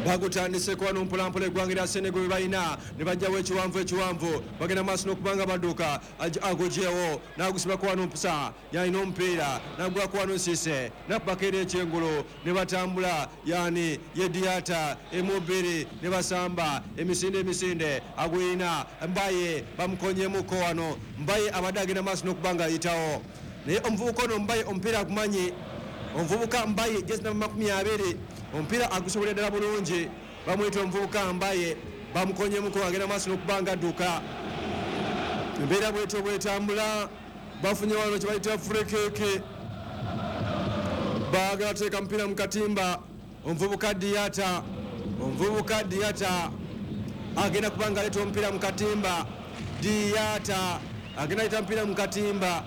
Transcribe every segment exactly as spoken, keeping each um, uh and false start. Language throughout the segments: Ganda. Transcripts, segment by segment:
Bagutandiseko wano mpolampola eggwanga lya Senegal balina ne bajjawo ekiwanvu ekiwanvu bagenda maaso n'okubanga badduka. Agugyewo n'agusibako wano mpusa yalina omupiira n'agulako wano Cisse nakubako era ekyengulu ne batambula yani ye Diata emubiri ne basamba emisinde emisinde aguyina Mbaye bamukonyemuko wano. Mbaye abadde agenda maaso n'okubanga ayitawo naye omuvubuka ono Mbaye omupiira agumanyi. Omuvubuka Mbaye jezi namba makumi abiri omupiira agusobolera ddala bulungi. Bamuyita omuvubuka Mbaye bamukonyemuko agenda maaso n'okubanga adduka. Embeera bwetyo bwetambula. Bafunye wano kye bayita free kick, baagala teeka mupiira mu katimba. Omuvubuka Diata omuvubuka Diata agenda kubanga aleeta omupiira mu katimba. Diata agenda aleeta omupiira mu katimba.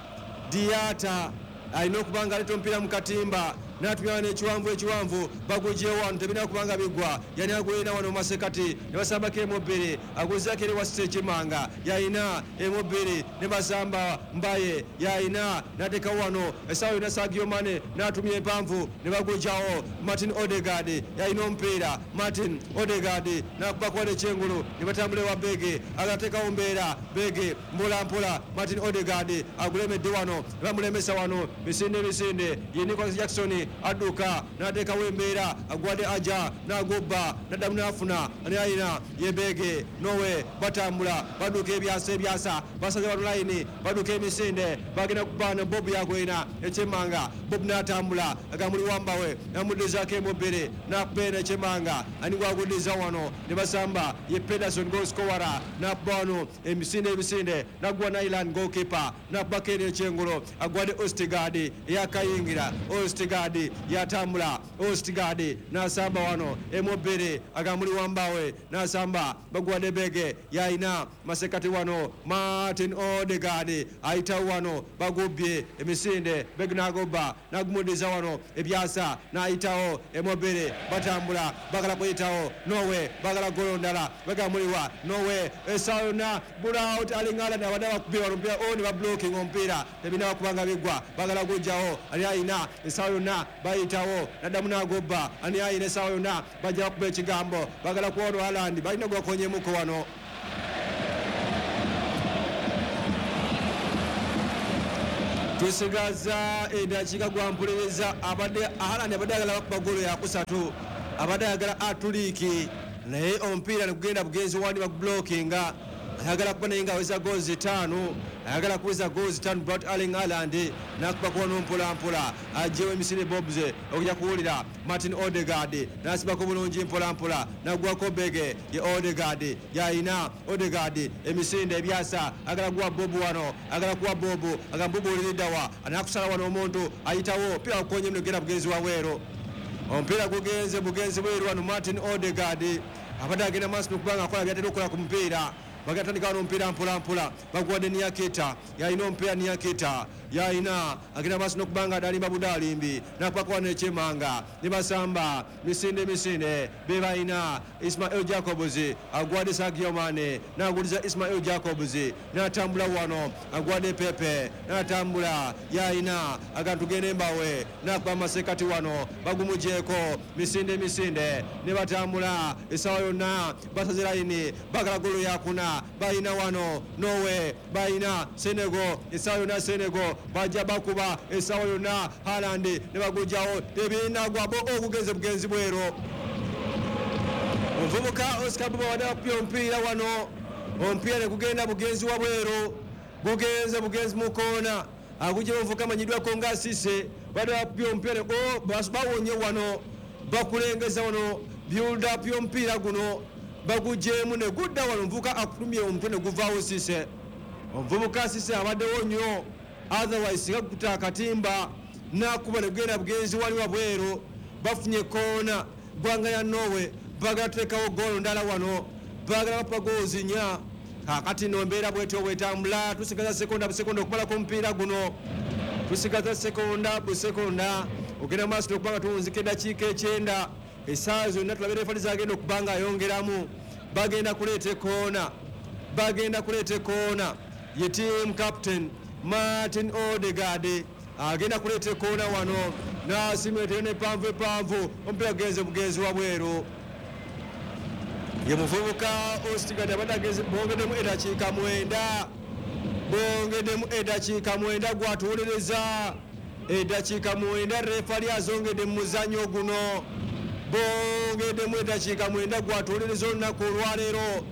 Diata alina okubanga aleeta omupiira mu katimba n'atumya wano ekiwanvu ekiwanvu bagugyewo wano tebirina kubanga bigwa. Yani agulina wano masekati ne basambako emubiri aguzaako eri wasita ekimanga yalina emubiri ne basamba Mbaye yalina n'ateekawo wano essaawa yonna Sadio Mane n'atumya empanvu ne bagugyawo. Martin Odegaard yalina omupiira. Martin Odegaard n'akubako wano ekyengulu ne batambula ewa Bege agateekawo mbeera Bege mpola mpola. Martin Odegaard agulemedde wano ne bamulemesa wano misinde misinde ye Nicholas Jackson adduka n'ateekawo embeera agwadde aja n'agobba n'addamu n'afuna alina yebege Norway batambula badduka ebyasa ebyasa basaze wano layini badduka emisinde bagenda kubaana Bob yagwena ekyemanga. Bob n'atambula agamuli wambawe namuddizaako emubiri n'akubeera ekyemanga ani gwaguddiza wano ne basamba ye Pedersen goalscorer n'akuba wano emisinde emisinde n'agwa Nyland goalkeeper n'akubako eri ekyengulo agwadde Ostergaard eyakayingira. Ostergaard yatambula Ostergaard n'asamba wano emubiri agamuli wambawe n'asamba bagwadde Bege yalina masekati wano Martin Odegaard ayitawo wano bagubbye emisinde Bege n'agoba n'agumudiza wano ebyasa n'ayitawo emubiri batambula bagala kuyitawo Norway bagala golo ndala bagamuliwa Norway essaawa yonna Braut Erling Haaland abadde bakubye wano omupiira o ne bablocking omupiira tebirina kubanga bigwa bagala gujjawo ali ayina essaawa yonna bayitawo naddamu n'agobba ani ayina essaawa yonna bajja bakuba ekigambo bagala kuwano Haaland balina gwakonyemuko wano. Tusigaza eddakiika gwampuliriza abadde Haaland abadde ayagala bakuba ggoolo yakusatu abadde ayagala atuliiki naye omupiira ne gugenda bugenzi wandi bagublockinga. Ayagala kuba naye nga aweza goals ttaano ayagala kuweza goals ttaano Braut Erling Haaland n'akuba kuwano mpola mpola aggyewo emisinde Bobs okujja kuwulira Martin Odegaard n'asibako bulungi mpola mpola n'agwako Bege ye Odegaard yalina Odegaard emisinde ebyasa agala kuwa Bob wano agala kuwa Bob agamba Bob oliriddawa anakusala wano omuntu ayitawo omupiira gukonye genda bugenzi wabweru omupiira gugenze bugenzi bweru wano Martin Odegaard abadde agenda maaso n'okubanga akola byatera okukola ku mupiira. Bagatandika wano omupiira mpola mpola baguwadde Niakita yalina omupiira Niakita yalina agenda maaso n'okubanga adalimba budalimbi n'akubako wano ekyemanga ne basamba misinde misinde be balina Ismail Jacobs agwadde Sadio Mane n'aguliza Ismail Jacobs n'atambula wano agwadde Pepe n'atambula yalina agantu gende mbawe n'akuba amasekati wano bagumugyeko misinde misinde ne batambula essaawa yonna basaze layini bagala golo yakuna balina wano Norway balina Senegal essaawa yonna Senegal bajja bakuba essaawa yonna Haaland ne bagugyawo tebinagwa bo ogugenze bugenzi bweru. Omuvubuka Oscar Bob abadde akubye omupiira wano omupiira ne gugenda bugenzi wabweru gugenze bugenzi mu koona agugyewo omuvubuka amanyiddwako nga Cisse badde bakubye omupiira bawonye wano bakulengeza wano build up y'omupiira guno bagugyemu ne gudda wano omuvubuka akulumye omutwe ne guvaawo Cisse. Omuvubuka Cisse abaddewo nnyo otherwise singa kukuta akatimba n'akuba ne gugenda bugenzi wali wabweru. Bafunye koona ggwanga ya Norway baagala tuteekawo ggoolo ndala wano baagala bakuba goals nnya. Kaakati nno embeera bwetyo bwetambula tusigaza sekonda busekonda okumalako omupiira guno tusigaza sekonda busekonda ogenda maaso n'okubanga tuwunzika eddakiika ekyenda essaawa zonna tulabe refa zagenda okuba nga ayongeramu. Bagenda kuleeta ekoona bagenda kuleeta ekoona ye team captain Martin Odegaard agenda kuleeta ekoona wano n'asimeetero n'empanvu empanvu omupiira gugenze bugenzi wabweru. Ye muvubuka Ostigard abadde ageze bongeddemu eddakiika mwenda, bongeddemu eddakiika mwenda gwatuwuliriza eddakiika mwenda refali azongedde mu muzannyo guno. Bongeddemu eddakiika mwenda gwatuwuliriza olunaku olwaleero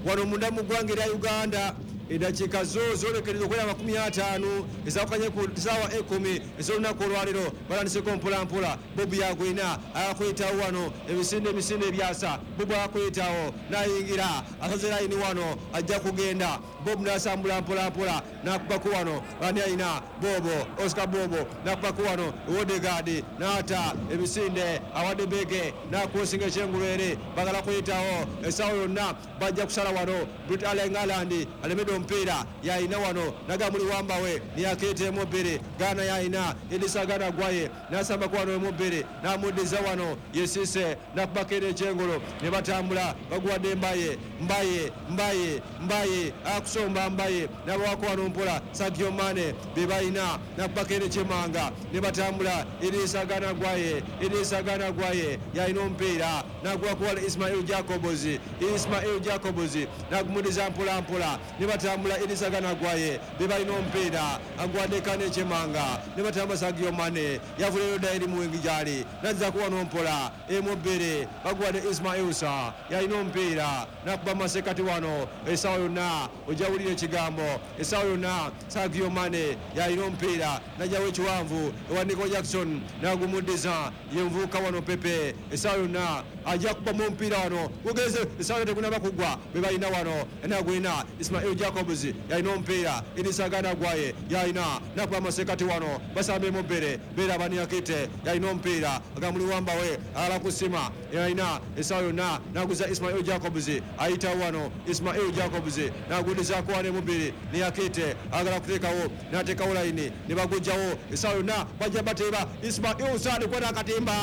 wano munda mu ggwanga erya Uganda. Eddakiika zo zolekereza okwera amakumi ataano ezawukanye ku ssaawa ekkumi ez'olunaku olwaleero. Batandiseko mpolampola. Bobu yagwina akuyitawo wano emisinde emisinde ebyasa. Bobu akuyitawo n'ayingira asaze layini wano ajja kugenda. Bobu n'asambula mpolampola n'akubako wano ani ayina Bobo Oscar Bobo n'akubako wano Odegaard n'ata emisinde awadde Beke n'akusinga ekyengulu eri bagala kuyitawo essaawa yonna bajja kusala wano. Brit Erling Haaland alemedde omupiira yayina wano nagamuli wambawe niyakeeta emu bbiri Ghana yayina Idrissa Gana Gueye n'asambako wano emu bbiri n'amuddiza wano yesise n'akubako era ekyengulu ne batambula baguwadde Mbaye Mbaye Mbaye Mbaye akusomba Mbaye n'abawako wano mpola Sadio Mane be balina n'akubako era ekyemanga ne batambula Idrissa Gana Gueye Idrissa Gana Gueye yalina omupiira n'aguwako wano Ismail Jacobs Ismail Jacobs n'agumuddiza mpola mpola ne batambula Idrissa Gana Gueye be balina omupiira agwadde Kane Chemanga ne batamba Sadio Mane yavuleyo dda eri muwingi gyali nazzaako wano mpola emu bbiri baguwadde Ismail Sarr yalina omupiira n'akuba masekati wano essaawa yonna ojja wulira ekigambo essaawa yonna Sadio Mane yalina omupiira najjawo ekiwanvu ewa Nico Jackson n'agumuddiza yenvuuka wano Pepe essaawa yonna ajja kubamu omupiira wano gugeze essaawa yonna tegunaba kuggwa be balina wano enagwina Ismail Jacobs yalina omupiira Idrissa Gana Gueye yalina nakuba masekati wano basamba emu bbiri beera Baniakite yalina omupiira agamuli wambawe alala kusima yalina essaawa yonna naguza Ismail Jacobs ayitawo wano Ismail Jacobs nagudizaako wano emu bbiri Niakite agala kuteekawo n'ateekawo layini ne bagujjawo essaawa yonna bajja bateeba Ismail Sarr kwata akatimba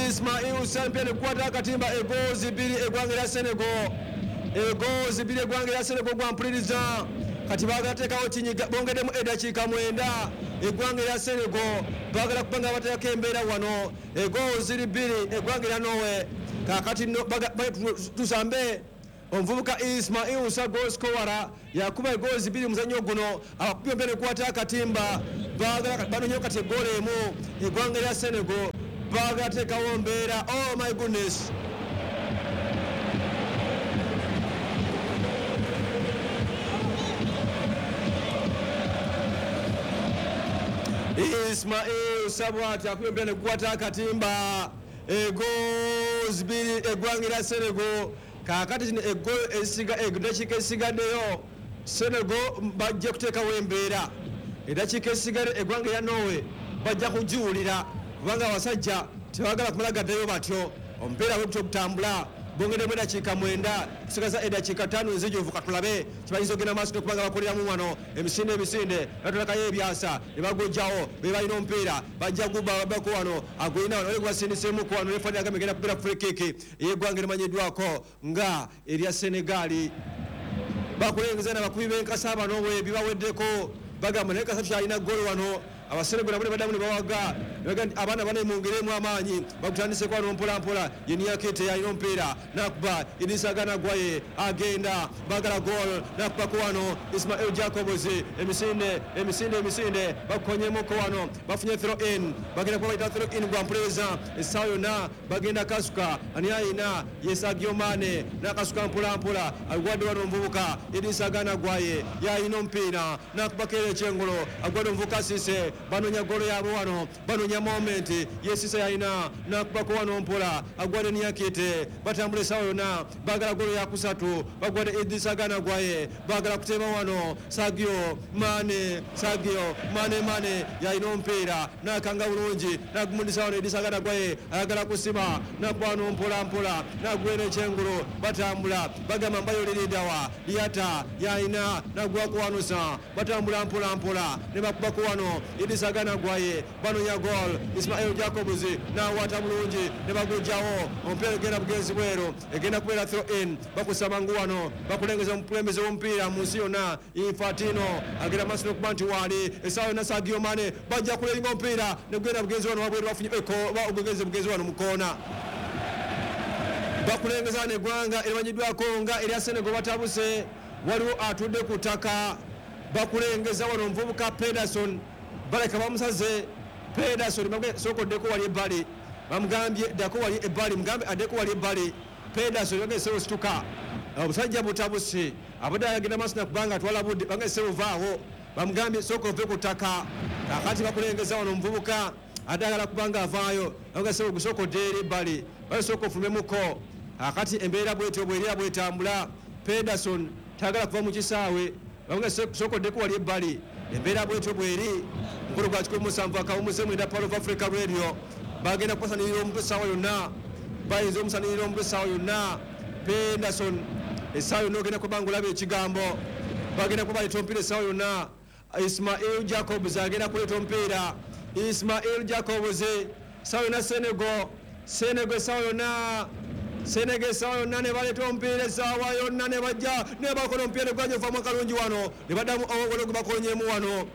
Ismail Sarr mpya nekwata akatimba egoozi bbiri eggwanga erya Senegal egoozi bbiri eggwanga erya Senegal gwampuliriza kati baagala teekawo kinyiga bongeddemu eddakiika mwenda eggwanga erya Senegal baagala kuba nga bateekako embeera wano egoozi ziri bbiri eggwanga erya Norway. Kaakati tusambe omuvubuka Ismail Sarr goal scorer yakuba egoozi bbiri muzannyo guno abakubye mpya nekwata akatimba baagala banonyeyo kati eggoolo emu eggwanga erya Senegal baagala teekawo mbeera. Oh my goodness. Ismail Sarr bw'ati akubye mpya nekwata akatimba egoozi bbiri eggwanga erya Senegal. Kaakati zino eddakiika ezisigaddeyo Senegal bajja kuteekawo embeera eddakiika ezisigadde eggwanga erya Norway bajja kugiwulira kubanga abasajja tebaagala kumala gaddayo batyo. Omupiira bwe gutyo gutambula bongeddemu eddakiika mwenda kusigaza eddakiika ttaano enzijuvu katulabe kibayinza okugenda maaso n'okuba nga bakoleramu wano emisinde emisinde batulakayo ebyasa ne bagujjawo be balina omupiira bajja guba babako wano agulina wano oli gubasindiseemuku wano refa agamba egenda kubeera free kick ey'eggwanga erimanyiddwako nga erya Senegal. Bakulengeza n'abakubi b'enkasa bano bwe bibaweddeko bagamba naye kasa tukyalina ggolo wano Abasenegal nabo ne baddamu ne bawaga abaana bane mwongeremu amaanyi bagutandiseko wano mpola mpola. Ye Niakite yalina omupiira n'akuba Idrissa Gana Gueye agenda bagala goal n'akubako wano Ismail Jacobs emisinde emisinde emisinde bakukonyemuko wano bafunye throw in bagenda kuba bayita throw in gwa mpuliriza essaawa yonna bagenda kasuka ani ayina ye Sadio Mane n'akasuka mpola mpola agwadde wano omuvubuka Idrissa Gana Gueye yalina omupiira n'akubako era ekyengolo agwadde omuvubuka Cisse banonya golo yaabwe wano banonya moment ye Cisse yalina n'akubako wano mpola agwadde Niakite batambula essaawa yonna baagala golo yakusatu bagwadde Idrissa Gana Gueye baagala kuteeba wano Sadio Mane Sadio Mane Mane yalina omupiira n'akanga bulungi n'agumudisa wano Idrissa Gana Gueye ayagala kusima n'akuba wano mpola mpola n'agwera ekyengulu batambula bagamba mbayo liridawa Liata yalina n'agwako wano sa batambula mpola mpola ne bakubako wano Idrissa Gana Gueye banonya goal Ismail Jacobs n'awata bulungi ne bagujjawo omupiira egenda bugenzi bweru egenda kubeera throw in bakusaba ngu wano bakulengeza omukulembeze w'omupiira mu nsi yonna Infantino agenda maaso n'okuba nti waali essaawa yonna Sadio Mane bajja kulenga omupiira ne gugenda bugenzi wano wabweru bafunye obugenzi bugenzi wano mu koona. Bakulengeza n'eggwanga erimanyiddwako nga erya Senegal batabuse, waliwo atudde ku ttaka. Bakulengeza wano omuvubuka Pederson, baleka bamusaze. Pederson sooka oddeko wali ebbali, bamugambye ddako wali ebbali, mugambe addeko wali ebbali. Pederson bageze osituka, obusajja butabuse, abadde agenda maaso nakubanga atwala budde, bageze ovaawo, bamugambye sooka ove ku ttaka. Kakati bakulengeza wano omuvubuka ate agala kubanga avaayo, bageze ogusooka odde eri ebbali, basooka ofulumemuko. Kakati embeera bwetyo bwerira bwetambula. Pederson tagala kuva mu kisaawe, bamugambye sooka oddeko wali ebbali. Embeera bwetyo bweri. Mukolo gwa kikumi musanvu akawumuze mwenda Pearl of Africa Radio. Bagenda kubasanirira omutwe essaawa yonna, bayinza omusanirira omutwe essaawa yonna. Pederson essaawa yonna ogenda kuba nga olaba ekigambo, bagenda kuba baleeta omupiira essaawa yonna. Ismail Jacobs agenda kuleeta omupiira, Ismail Jacobs essaawa yonna. Senegal, Senegal essaawa yonna, Senegal essaawa yonna ne baleeta omupiira essaawa yonna, ne bajja ne bakola omupiira ne gwanja ovaamu akalungi wano, ne baddamu waliwo gwe bakonyemu wano,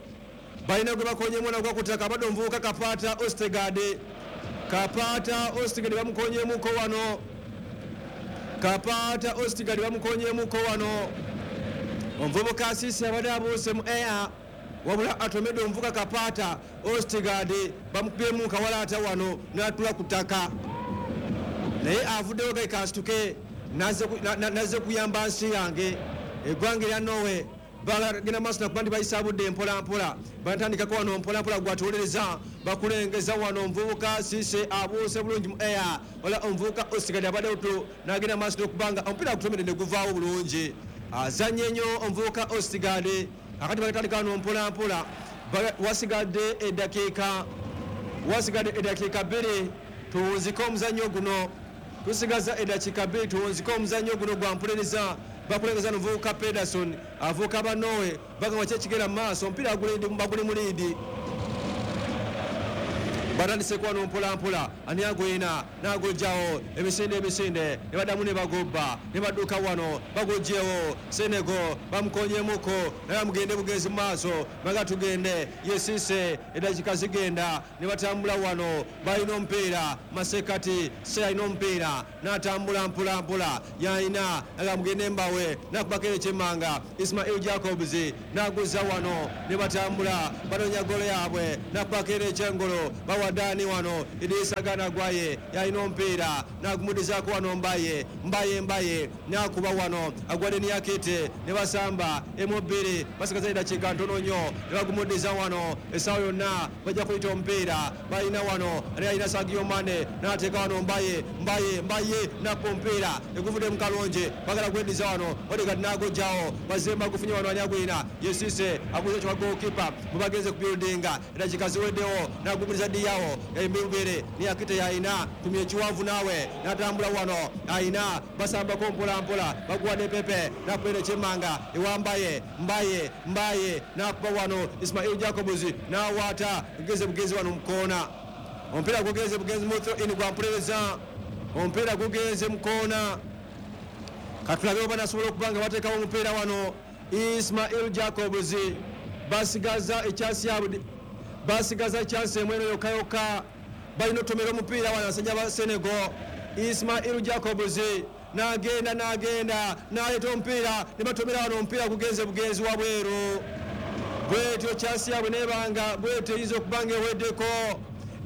balina gwe bakonyemu wano gwa ku ttaka, abadde omuvubuka Kapata Ostegard, Kapata Ostegard bamukonyemuko wano, Kapata Ostegard bamukonyemuko wano. Omuvubuka Asisi abadde abuuse mu air, wabula atomedde omuvubuka Kapata Ostegard, bamukubyemu kawalaata wano n'atula ku ttaka, naye avuddeyo gai kasituke nazze kuyamba nsi yange. Eggwanga erya Norway bagenda maaso nakuba nti bayisa budde mpola mpola, batandikako wano mpola mpola gwatuwolereza. Bakulengeza wano omuvubuka Sise abuuse bulungi mu air, wala omuvubuka Ostegard abadde otu n'agenda maaso n'okubanga omupiira agutomedde ne guvaawo bulungi. Azannye nnyo omuvubuka Ostegard. Akati bagatandika wano mpola mpola, wasigadde eddakiika, wasigadde eddakiika bbiri tuwunzike omuzannyo guno, tusigaza eddakiika bbiri tuwunzike omuzannyo guno gwa mpulereza. Bakulengeza n'omuvubuka Pederson avuka ba Norway, bagamba ki ekigenda mu maaso, omupiira baguli mu liidi. Batandise wano mpola mpola, ani agwina n'agojjawo emisinde emisinde, ne baddamu ne bagobba ne badduka wano bagojjewo. Senegal bamukonyemuko, naye mugende bugenzi mu maaso, baga tugende yesise, eddakiika zigenda ne batambula wano, balina omupiira masekati se alina omupiira n'atambula mpola mpola, yalina aga mugende mbawe n'akubako ekyemmanga Ismail Jacobs n'aguza wano ne batambula banoonya golo yaabwe n'akubako ekyengolo bawadani wano Idrissa Gana Gueye yalina omupiira n'agumudizaako wano Mbaye, Mbaye, Mbaye n'akuba wano agwadde Niakite ne basamba emu bbiri, basigaza eddakiika ntono nnyo ne bagumudiza wano essaawa yonna bajja kuyita omupiira. Balina wano ani alina Sadio Mane n'ateeka wano Mbaye, Mbaye, Mbaye n'akuba omupiira eguvudde mu kalongi, bagala gweddiza wano Odegaard n'agojjawo, bazze bagufunye wano ani agwina Yesise aguze kya goalkeeper bwe bagenze ku buildinga, eddakiika ziweddewo n'agumudiza Diawo embiri Niakite yalina tumye ekiwanvu naawe n'atambula wano alina basambako mpola mpola baguwadde Pepe n'akuba ekyemmanga ewambaye Mbaye, Mbaye n'akuba wano Ismail Jacobs n'awaata geze bugezi wano mu koona, omupiira gugenze bugenzi mu throw in gwa mpulereza, omupiira gugenze mu koona. Katulabe oba nasobola okuba nga bateekawo omupiira wano Ismail Jacobs, basigaza ekyansi yaabwe, basigaza ekyansi emu eno yokka yokka, balina otomera omupiira wano abasajja ba Senegal. Ismail Jacobs n'agenda n'agenda n'aleeta omupiira ne batomera wano omupiira gugenze bugenzi wabweru. Bwetyo kyansi yaabwe nebanga bwetyo eyinza okuba nga eweddeko,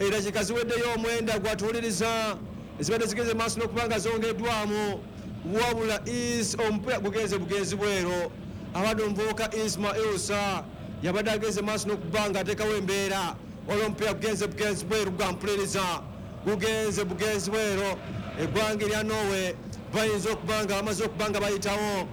eddakiika ziweddeyo omwenda gwatuwuliriza ezibadde zigenze maaso n'okuba nga zongeddwamu, wabula is omupiira gugenze bugenzi bweru. Abadde omuvubuka Ismail Sa yabadde agenze maaso n'okuba nga ateekawo embeera, waliwo omupiira gugenze bugenzi bweru gwa mpuliriza, gugenze bugenzi bweru. Eggwanga erya Norway bayinza okuba nga bamaze okuba nga bayitawo,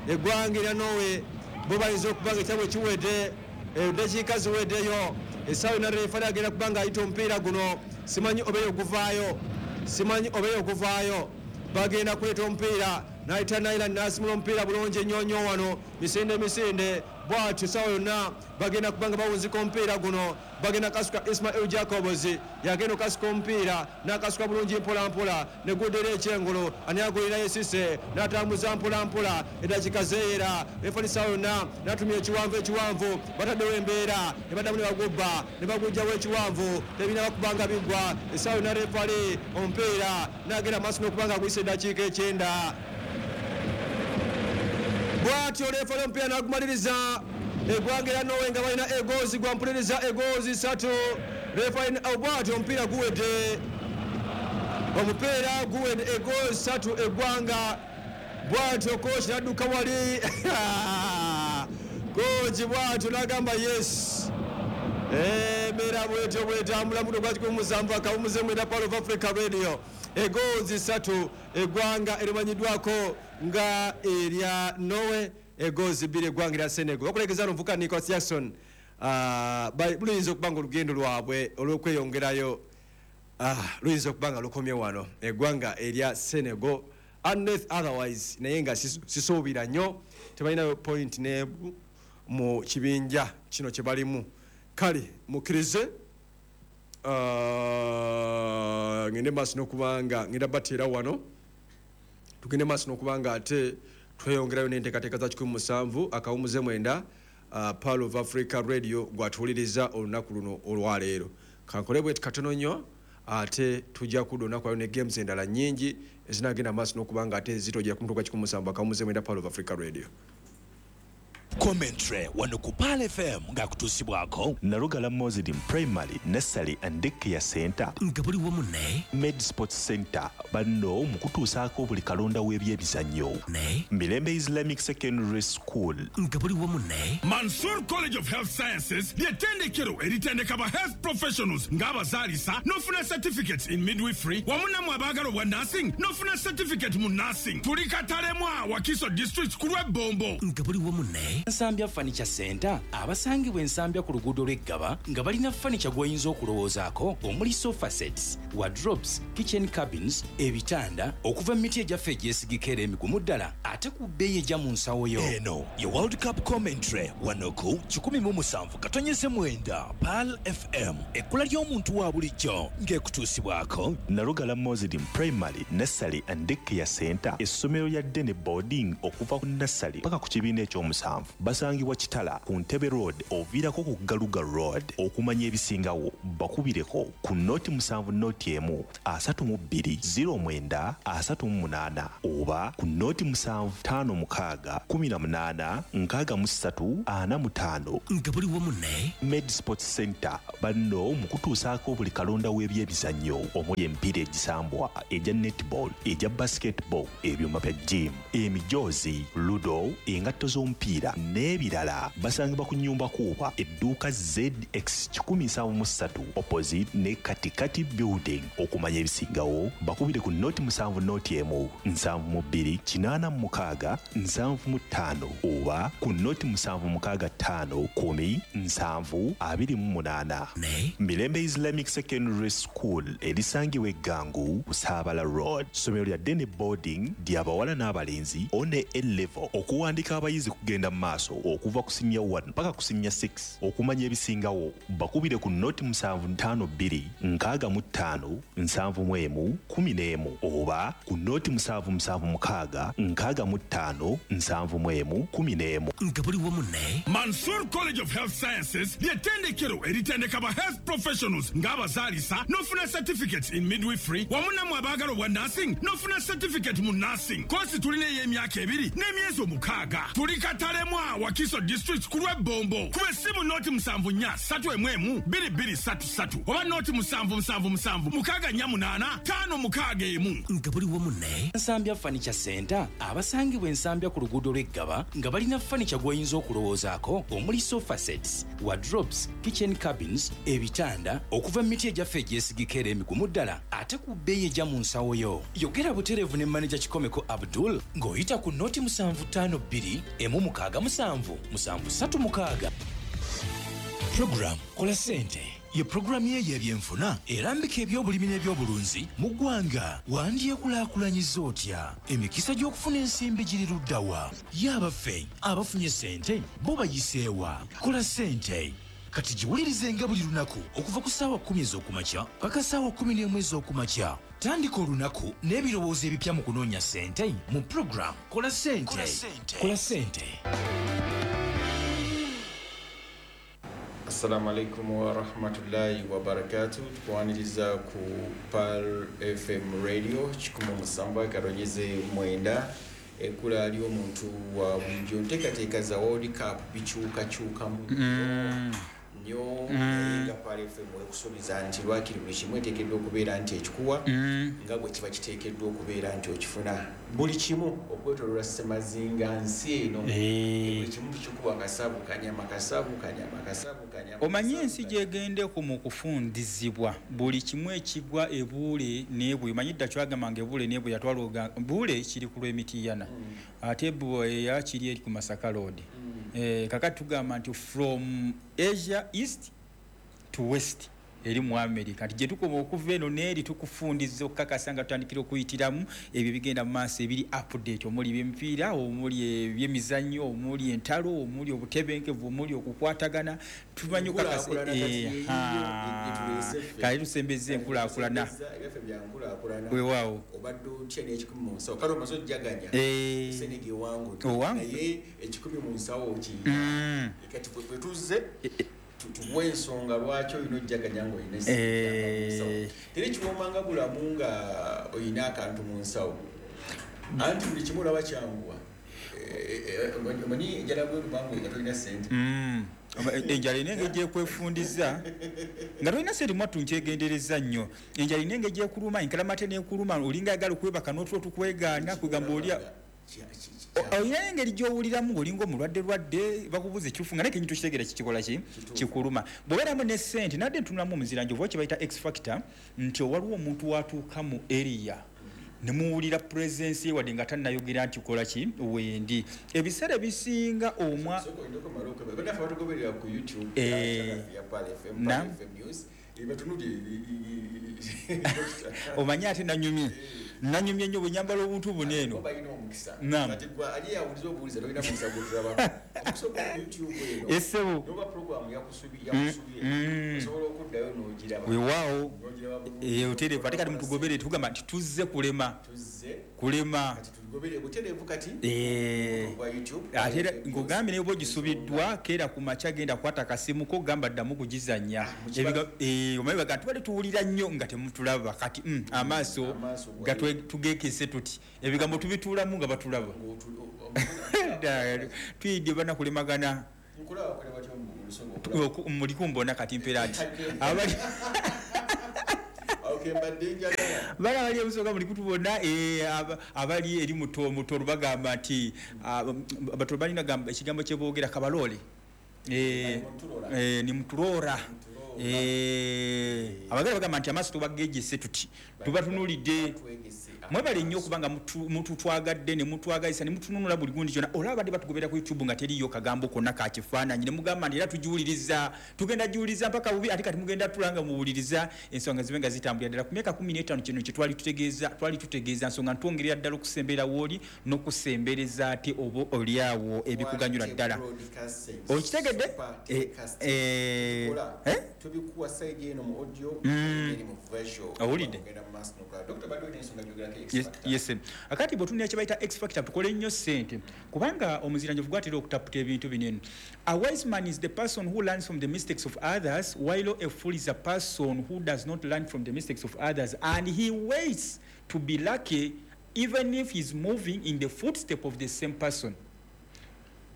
eggwanga erya Norway bo bayinza okuba nga ekyabwe kiwedde, eddakiika ziweddeyo. Essaawa yonna referee agenda kuba nga ayita omupiira guno, simanyi obeeyo oguvaayo, simanyi obeeyo oguvaayo. Bagenda kuleeta omupiira N'ayita Nailand n'asimula omupiira bulungi ennyo nnyo wano. Misinde misinde bwatyo sawa yonna bagenda kubanga bawunzika omupiira guno. Bagenda kasuka Ismail Jacobs yagenda okasuka omupiira n'akasuka bulungi mpola mpola ne guddera ekyengulu ani agulirayo esise n'atambuza mpola mpola eddakiika zeeyera refali sawa yonna n'atumya ekiwanvu ekiwanvu bataddewo embeera ne baddamu ne bagubba ne bagujjawo ekiwanvu tebirina bakubanga bigwa essaawa yonna refali omupiira n'agenda maaso n'okubanga aguyisa eddakiika ekyenda. Bwatyo refali omupiira n'agumaliriza. Eggwanga erya Norway nga balina egozi gwampuliriza egozi ssatu. Refali bwatyo omupiira guwedde, omupiira guwedde egozi ssatu eggwanga. Bwatyo kooki n'adduka wali kooki bwatyo n'agamba yes. Embeera bwetyo bwetambula muto gwa kikumi musanvu akawumuze mwenda Pearl of Africa Radio. Egozi ssatu eggwanga erimanyiddwako nga erya Norway, egozi bbiri eggwanga erya Senegal. Bakulegeza n'omuvuka Nicholas Jackson luyinza okuba nga olugendo lwabwe olw'okweyongerayo luyinza okuba nga lukomye wano eggwanga erya Senegal unless otherwise, naye nga sisuubira nnyo tebalinayo point n'emu mu kibinja kino kye balimu. Kale mukkirize ngende maaso n'okubanga ngenda bateera wano, tugende maaso n'okubanga ate tweyongerayo n'enteekateeka za kikumi musanvu akawumuze mwenda Pearl of Africa Radio gwatuwuliriza olunaku luno olwaleero. Kankole bweti katono nnyo ate tujja kudda olunaku lwaleero ne games endala nnyingi ezinagenda maaso n'okubanga ate zitojja ku mutuka gwa kikumi musanvu akawumuze mwenda Pearl of Africa Radio. Commentary wano ku Pearl F M ng'akutuusibwako Nalugala Muslim Primary Nursery and Daycare Center nga buli wamu ne Med Sports Center banno mu kutuusaako buli kalonda w'ebyemizannyo ne Mirembe Islamic Secondary School nga buli wamu ne Mansour College of Health Sciences ly'ettendekero eritendeka ba health professionals ng'abazaalisa n'ofuna certificates in midwifery wamu nammwe abaagala obwa nursing n'ofuna certificate mu nursing. Tuli Katalemwa, Wakiso District ku lw'Ebbombo nga buli wamu ne Nsambya Furniture Center abasangibwa Ensambya ku luguudo lw'Eggaba nga balina furniture gw'oyinza okulowoozaako omuli sofa sets, wardrobes, kitchen cabins, ebitanda okuva mu miti egyaffe egyesigika era emigumu ddala ate ku bbeeyi ejja mu nsawo yo. Eno ye World Cup Commentary wano ku kikumi mu musanvu katonyeze mwenda Pearl F M ekkula ly'omuntu wa bulijjo ng'ekutuusibwako Nalugala Muslim Primary Nursery and Daycare Center essomero lya Dene Boarding okuva ku nursery paka ku kibiina ekyomusanvu. Basangibwa Kitala ku Ntebe Road oviirako ku Galuga Road. Okumanya ebisingawo bakubireko ku noti musanvu noti emu asatu mu bbiri ziro mwenda asatu mu munaana oba ku noti musanvu ttaano mukaaga kumi na munaana nkaaga mu ssatu ana mu ttaano nga buli wamu ne Med Sports Center banno mu kutuusaako buli kalonda w'ebyemizannyo omuli emipiira egisambwa egya netball, egya basketball, ebyuma bya gym, emijoozi, ludo, engatto z'omupiira n'ebirala. Basangibwa ku nnyumba kuuba edduuka Z X kikumi nsanvu mu ssatu opposite ne Katikati Building. Okumanya ebisingawo bakubire ku noti musanvu noti emu nsanvu mu bbiri kinaana mu mukaaga nsanvu mu ttaano oba ku noti musanvu mukaaga ttaano kumi nsanvu abiri mu munaana. Mirembe Islamic Secondary School erisangibwa Eggangu ku Saabala Road. Ssomero lya Dene Boarding ly'abawala n'abalenzi one A level. Okuwandika abayizi kugenda mu maaso okuva ku senior one paka ku senior six. Okumanya ebisingawo bakubire ku noti musanvu ttaano bbiri nkaaga mu ttaano nsanvu mu emu kumi n'emu oba ku noti musanvu musanvu mukaaga nkaaga mu ttaano nsanvu mu emu kumi n'emu nga buli wamu ne Mansour College of Health Sciences ly'ettendekero eritendeka ba health professionals ng'abazaalisa n'ofuna certificates in midwifery wamu nammwe abaagala obwa nursing n'ofuna certificate mu nursing. Koosi tulina ey'emyaka ebiri n'emyezi omukaaga. Tuli Katalemwa, Wakiso District ku lw'Ebbombo. Kuba essimu noti musanvu nnya ssatu emu emu bbiri bbiri ssatu ssatu oba noti musanvu musanvu musanvu mukaaga nnya munaana ttaano mukaaga emu nga buli wamu ne Nsambya Furniture Center abasangibwa Ensambya ku luguudo lw'Eggaba nga balina furniture gw'oyinza okulowoozaako omuli sofa sets, wardrobes, kitchen cabins, ebitanda okuva mu miti egyaffe egyesigika era emigumu ddala ate ku bbeeyi ejja mu nsawo yo. Yogera butereevu ne maneja Kikomeko Abdul ng'oyita ku noti musanvu ttaano bbiri emu mukaaga musanvu musanvu ssatu mukaaga. Program Kola Ssente Ye pulogulaamu ye y'ebyenfuna erambika ebyobulimi n'ebyobulunzi mu ggwanga. Wandyekulaakulanyiza otya? Emikisa gy'okufuna ensimbi giri ludda wa? Ye abaffe abafunye ssente bo bayiseewa? Kola ssente. Kati giwulirizenga buli lunaku okuva ku ssaawa kkumi ez'okumakya paka ssaawa kkumi n'emu ez'okumakya. Tandika olunaku n'ebirowoozo ebipya mu kunoonya ssente mu pulogulaamu Kola Ssente. Kola Ssente. Assalamu alaikum warahmatullahi wabarakatuh. Tukwaniriza ku Pearl F M Radio kikumi musanvu akaronyeze mwenda. Ekkula ly'omuntu wa bulijjo, nteekateeka za World Cup bikyukakyukamu nnyo, naye nga Pearl F M ekusuubiza nti lwakiri buli kimu eteekeddwa okubeera nti ekikuwa nga bwe kiba kiteekeddwa okubeera nti okifuna. Buli kimu okwetooloola Ssemazinga nsi eno, buli kimu tukikuwa kasabu kanyama, kasabu kanyama, kasabu kanyama. Omanyi ensi gy'egendeko mu kufundizibwa buli kimu ekigwa ebuule n'ebwe. Omanyi dda kyagamba nga ebuule n'ebwe yatwala buule kiri ku lw'emitiyana, ate eya kiri eri ku Masaka Road. Kakati tugamba nti from Asia East to West eri mu America, nti gye tukoma okuva eno n'eri tukufundiza okukakasa nga tutandikira okuyitiramu ebyo bigenda mu maaso ebiri update, omuli ebyemipiira, omuli ebyemizannyo, omuli entalo, omuli obutebenkevu, omuli okukwatagana. Tumanyi okukakasa kale tusembezza enkulaakulana. Weewaawo obadde otya n'ekikumi mu nsawo? Kale omaze ojjaganya Senege ewangudde, naye ekikumi mu nsawo okiyina. Kati bwe tuzze tuwa ensonga lwaki olina ojjaganya ng'olina ssente mu nsawo. Teri kiwoomanga bulamu nga olina akantu mu nsawo, anti buli kimu olaba kyanguwa. Omanyi enjala bweruma nga tolina ssente. Enjala erina engeri gy'ekwefundiza nga tolina ssente. Mwattu nkyegendereza nnyo, enjala erina engeri gy'ekuluma, enkalamate n'ekuluma, olinga ayagala okwebaka n'otulo tukwegaana, kwegamba olya olina engeri gy'owuliramu ng'olinga omulwadde lwadde, bakubuuza ekituufu nga naye kenyi tokitegeera kikikola ki kikuluma. Bw'obeeramu ne ssente, nadde ntunulamu omuziranjovu oba kye bayita X factor, nti waliwo omuntu watuuka mu area ne muwulira presence ye wadde nga tannayogera nti kola ki wendi. Ebiseera ebisinga omwa bannaffe batugoberera ku YouTube ya Pearl F M, Pearl F M News, omanyi ate nanyumye nanyumye nnyo bwe nyambala obuntu buno eno. Essebo weewaawo otereevu. Ate kati mutugobere, tugamba nti tuzze kulema kulema ate era nkugambye naye oba ogisubiddwa keera ku makya genda kwata akasimu ko gamba ddamu kugizannya. Omanyi baga tubadde tuwulira nnyo nga temutulaba, kati amaaso tugeekese tuti ebigambo tubituulamu nga batulaba. Tuyidde banakulemagana muli kumbona kati mpeera nti abali bala bali ebusoga muli kutubona, abali eri muto mutoro bagamba nti batoro balina gamba ekigambo kye boogera kabalole ni mutulora. Abagala bagamba nti amaaso tubagejese tuti tubatunulidde. Mwebale nnyo okubanga mututwagadde ne mutwagazisa ne mutununula buli gundi kyonna. Olaba badde batugobera ku YouTube nga teriiyo kagambo konna ka kifaananyi ne mugamba nti era tugiwuliriza, tugenda giwuliriza mpaka bubi, ate kati mugenda tulanga muwuliriza ensonga zibe nga zitambulira ddala. Ku myaka kumi n'etaano kino kye twali tutegeeza, twali tutegeeza nsonga ntwongerera ddala okusembera wooli n'okusembereza ate oba oliawo ebikuganyula ddala. Okitegedde? Tubikuwa side eno mu audio eri mu visual. Owulidde? Yes, yes. Akati bwe kye bayita X factor tukole nnyo ssente kubanga omuziranjovu gwatera okutaputa ebintu bino eno. A wise man is the person who learns from the mistakes of others, while a fool is a person who does not learn from the mistakes of others, and he waits to be lucky even if he's moving in the footstep of the same person,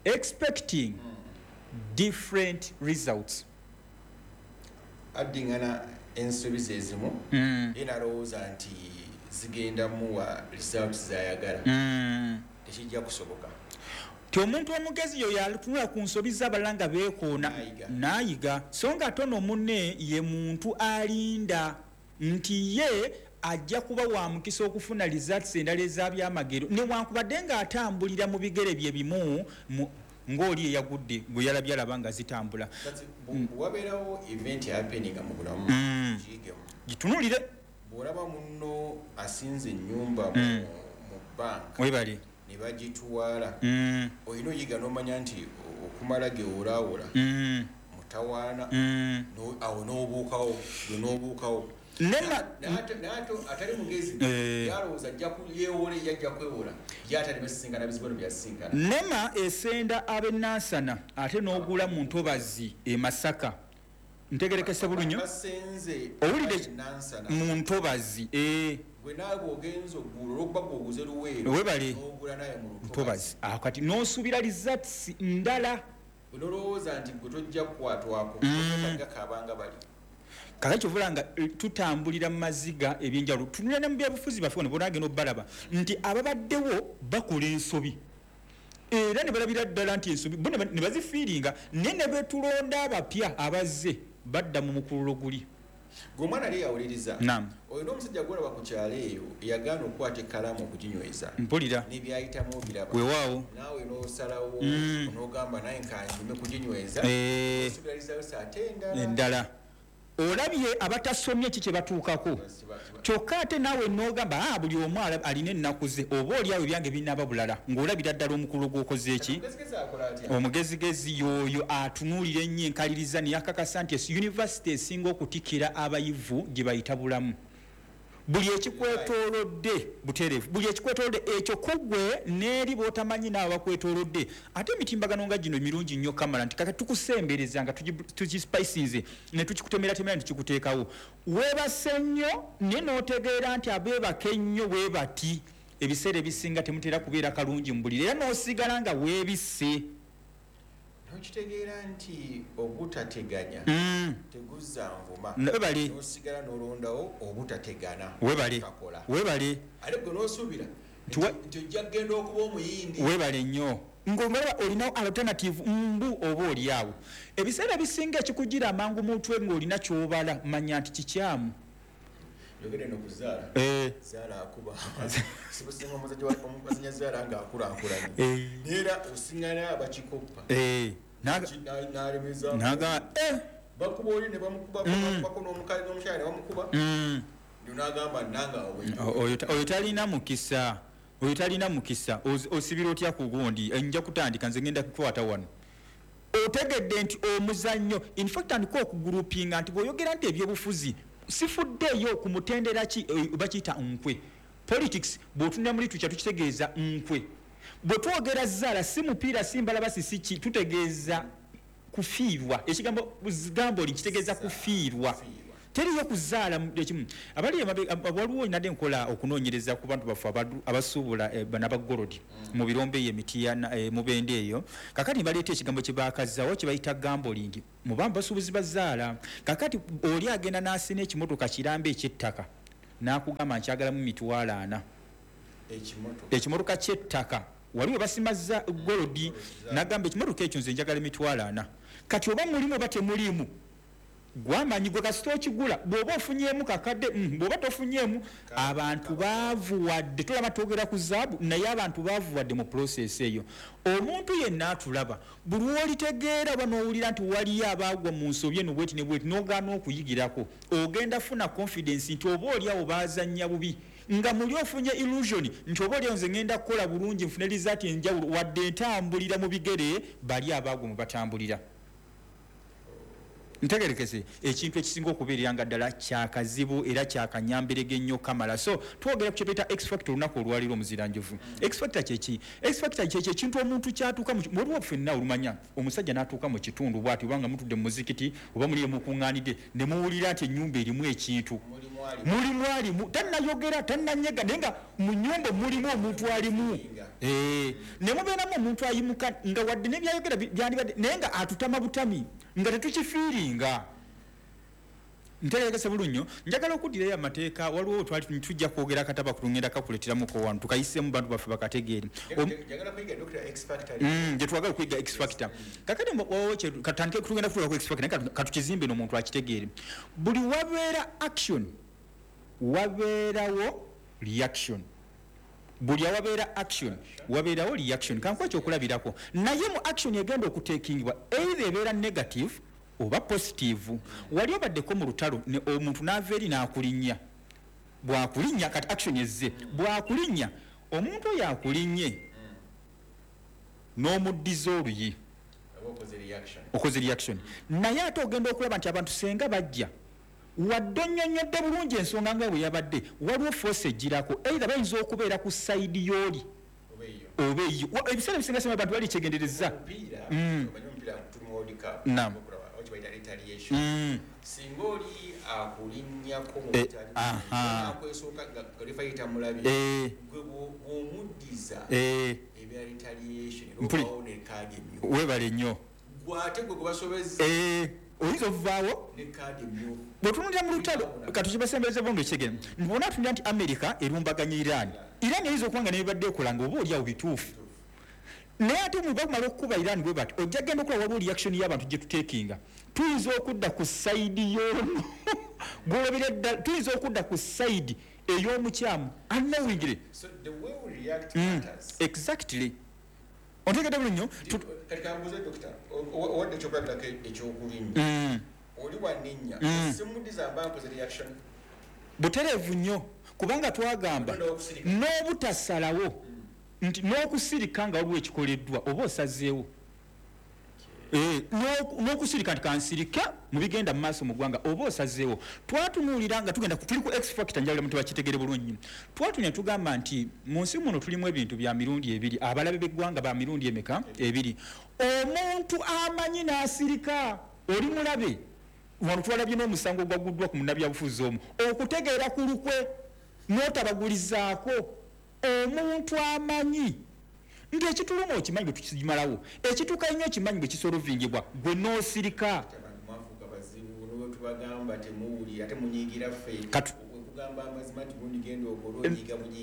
expecting mm. different results. Addingana ensobi ezimu enalowooza nti zigenda muwa results zayagala tekijja kusoboka. Ti omuntu omugezi yo yatunula ku nsobi z'abalala nga beekoona n'ayiga, so nga ate ono munne ye muntu alinda nti ye ajja kuba wa mukisa okufuna results endala ez'abyamagero newankubadde ng'atambulira mu bigere bye bimu. Ng'oli eyagudde gwe yalabye alaba nga zitambula. Wabeerawo event happening mu bulamu, giyigemu. Gitunulire. Bw'olaba munno asinze ennyumba mu banka, webale, ne bagitwala, olina oyiga n'omanya nti okumala gewolaawola mutawaana, awo n'obuukawo gwe n'obuukawo. Atali mugezi yalowooza ajja yeewole, yajja kwewola, ye atali basisinkana bizibu bino byasisinkana. Nema esenda ab'e Nansana ate n'ogula mu ntobazi e Masaka. Ntegerekese bulunyo? Basenze. Owulidde? Nansana. Mu ntobazi, eh. Gwe naawe bw'ogenza oggula, olwokuba gweoguze Luweero, Webale. n'ogula naye mu ntobazi lutobazi. Awo kati n'osuubira results ndala. Gwe nolowooza nti gwe tojja kukwatwako, gakaabanga bali. Kakati kyovula nga eh, tutambulira mu maziga ebyenjawulo. Tunula ne mu byabufuzi baffe wano, bonagenda obalaba nti ababaddewo bakola ensobi era ne balabira ddala nti ensobi bo ne ba- ne bazifiiringa, naye ne betulonda abapya abazze badda mu mukululo guli. Gwe omwana ali yawuliriza, Naam. oyo n'omusajja gwolaba ku kyalo eyo yagaana okukwata ekkalaamu okuginyweza, Mpulira. n'ebyayitamu obiraba. Weewaawo. Naawe n'osalawo Mm. n'ogamba naye nkanjume kuginyweza, Eh, osuubira results ate endala. Endala. Olabye abatasomye ki kye batuukako, kyokka ate naawe n'ogamba, "Ah, buli omu ala- alina ennaku ze, oba oli awo ebyange binaaba bulala," ng'olabira ddala omukululo gw'okoze eki. Omugezigezi akola atya? Omugezigezi y'oyo atunuulira ennyo enkaliriza ne yakakasa nti esi yunivasite esinga okutikira abayivu gye bayita bulamu. Buli ekikwetoolodde butereevu, buli ekikwetoolodde ekyo kugwe n'eri b'otamanyi naawe bakwetoolodde. Ate emitimbagano nga gino mirungi nnyo kamala nti kaka tukusembereza nga tugi- tugispicinze ne tukikutemeratemera ne tukikuteekawo. Weebase nnyo naye n'otegeera nti abeebaka ennyo bwe bati ebiseera ebisinga temutera kubeera kalungi mu buliri, era n'osigala nga weebisse. Nokitegeera nti obutateganya Mm. teguzza nvuma. Webale. Nosigala n'olondawo obutategana. Webale. Takola. Webale. Ate gwe n'osuubira Nti wa- nti ojja kugenda okuba omuyindi. Webale nnyo ng'olaba olina alternative mbu oba oli awo. Ebiseera ebisinga ekikugira amangu mutwe ng'olina ky'obala, manya nti kikyamu. Yogere no kuzaala. Eh. Zaala akuba sibusinga omuzajja wa- omuzanya zaala ng'akulaakulanye, Eh. neera osiŋŋana abakikoppa. Eh, naga- Ki- na- n'alemeza. Naga eh, Bakuba oli ne bamukuba, bakubako n'omukazi n'omukyala ne bamukuba. mm, Nagamba nange awo bwe O- oyo ta- oyo talina mukisa, oyo talina mukisa. Oz- osibira otya ku gundi? Eh, nja kutandika nze, ngenda kukwata wano. Otegedde nti omuzannyo, in fact tandika okugurupinga nti bw'oyogera nti ebyobufuzi sifuddeeyo ku mutendera ki, eh, bakiyita nkwe. Politics bw'otunula mu literature tukitegeeza nkwe. Bwe twogera zaala, si mupiira, si mbalabasi, si ki, tutegeeza kufiirwa. Ekigambo gambling kitegeeza kufiirwa, teriyo kuzaala mu- ekimu. Abali emabe- ab- waliwo nadde nkola okunoonyereza ku bantu baffe abadu- abasuubula eh, bano abagolodi mu birombe eyo emitiyana, eh, mubende eyo. Kakati baleeta ekigambo kye bakazaawo kye bayita gambling mu bamu basuubuzi bazaala. Kakati oli agenda n'asina ekimotoka kiramba ekyettaka n'akugamba nkyagalamu mitwalo ana. Ekimotoka? Ekimotoka ky'ettaka, waliwo basimaza golodi, nagamba ekimotoka ekyo nze njagala emitwalo ana. Kati oba mulimu oba temulimu gwamanyi gwe, kasita okigula bw'oba ofunyeemu kakadde, mm, bw'oba tofunyeemu. Abantu baavuwadde, tulaba twogera ku zaabu, naye abantu baavuwadde mu process eyo. Omuntu yenna atulaba, buli lwolitegeera oba n'owulira nti waliyo abaagwa mu nsobi eno bweti ne bweti, n'ogaana okuyigirako, ogenda funa confidence nti oba oli awo baazannya bubi, nga muli ofunye illusion nti oba oliawo nze ngenda kukola bulungi nfune result enjawulo, wadde ntambulira mu bigere bali abaagwa mu batambulira. Ntegerekese ekintu ekisinga okubeerera nga ddala kyakazibu era kyakanyamberege ennyo kamala. So twogera ku kyebeta X factor olunaku olwaliro. Omuziranjovu, X factor kyeki? X factor kyeki ekintu omuntu kyatuuka mu waliwo ffenna olumanya omusajja n'atuuka mu kitundu bw'ati, oba nga mutudde mu muzikiti oba muli mukuŋŋaanidde ne muwulira nti ennyumba erimu ekintu. Mulimu alimu. Mulimu alimu, tannayogera, tannanyega, naye nga mu nnyumba mulimu omuntu alimu. Eh, ne mubeeramu omuntu ayimuka nga wadde nebyayogera bi- byandibadde, naye nga atutama butami nga tetukifiiringa. Ntegerekese bulunyo. Njagala okuddirayo amateeka. Waliwo twali tujja kwogera akataba kulungenda kakuleeteramuko wano tukayisemu bantu baffe bakategeere. Om- Njagala kuyiga Doctor X Factor. Mm, gye twagala okuyiga X factor. Kakati mbo- wawo kye- katutandike tugenda kutuuka ku X factor, naye katu- katukizimbe n'omuntu akitegeere. Buli wabeera action wabeerawo reaction. Buli awabeera action wabeerawo reaction. Kankuwa ekyokulabirako, naye mu action egenda okuteekingibwa either ebeera negative oba positive. Wali obaddeko mu lutalo omuntu n'ava eri n'akulinnya, bwakulinnya kati action ezze, bwakulinnya omuntu oyo akulinnye n'omuddiza oluyi, okoze reaction. Naye ate ogenda okulaba nti abantu senga bajja wadde onnyonnyodde bulungi ensonga nga bwe yabadde, waliwo force egirako, either bayinza okubeera ku side y'oli oba eyo. Ebiseera ebisinga sema abantu bali kyegendereza. Naam. Singa oli akulinnyako mu butali akwesooka nga referee tamulabye, gwe bw'omuddiza ebya retaliation era ne kaadi emyufu. Weebale nnyo. Gwe ate gwe gwebasobezza oyinza okuvaawo ne kaadi emyufu. Bw'otunuulira mu lutalo katukibasembereze bulungi ekigere, bw'ona atunulira nti America erumbaganya Iran, Iran eyinza okuba nga nebibadde ekola nga oba oli awo bituufu, naye ate mu bakumala okukuba Iran bwe bati, ojja genda okulaba waliwo reaction y'abantu gye tuteekinga. Tuyinza okudda ku side y'ono gw'olabira ddala, tuyinza okudda ku side ey'omukyamu unknowingly. So the way we react matters. Mm, exactly. Ontegedde bulungi nnyo. Kati kambuuze dokita, owadde ekyokulabirako ekyokulinnya, oli wanninnya, simuddiza mba nkoze reaction butereevu nnyo, kubanga twagamba n'obutasalawo nti n'okusirika nga waliwo ekikoleddwa oba osazeewo, n'okusirika nti kansirika mu bigenda mu maaso mu ggwanga oba osazeewo. Twatunuulira nga tugenda tuli ku X factor, njagala muntu bakitegere bulungi. Twatunuulira tugamba nti mu nsi muno tulimu ebintu bya mirundi ebiri, abalabe b'eggwanga ba mirundi emeka? Ebiri. Omuntu amanyi n'asirika oli mulabe. Wano twalabye n'omusango ogwaguddwa ku munnabyabufuzi omu, okutegeera ku lukwe n'otabagulizaako. Omuntu amanyi nti ekituluma okimanyi bwe tukimalawo, ekituuka ennyo okimanyi bwe kisolovingibwa, gwe n'osirika.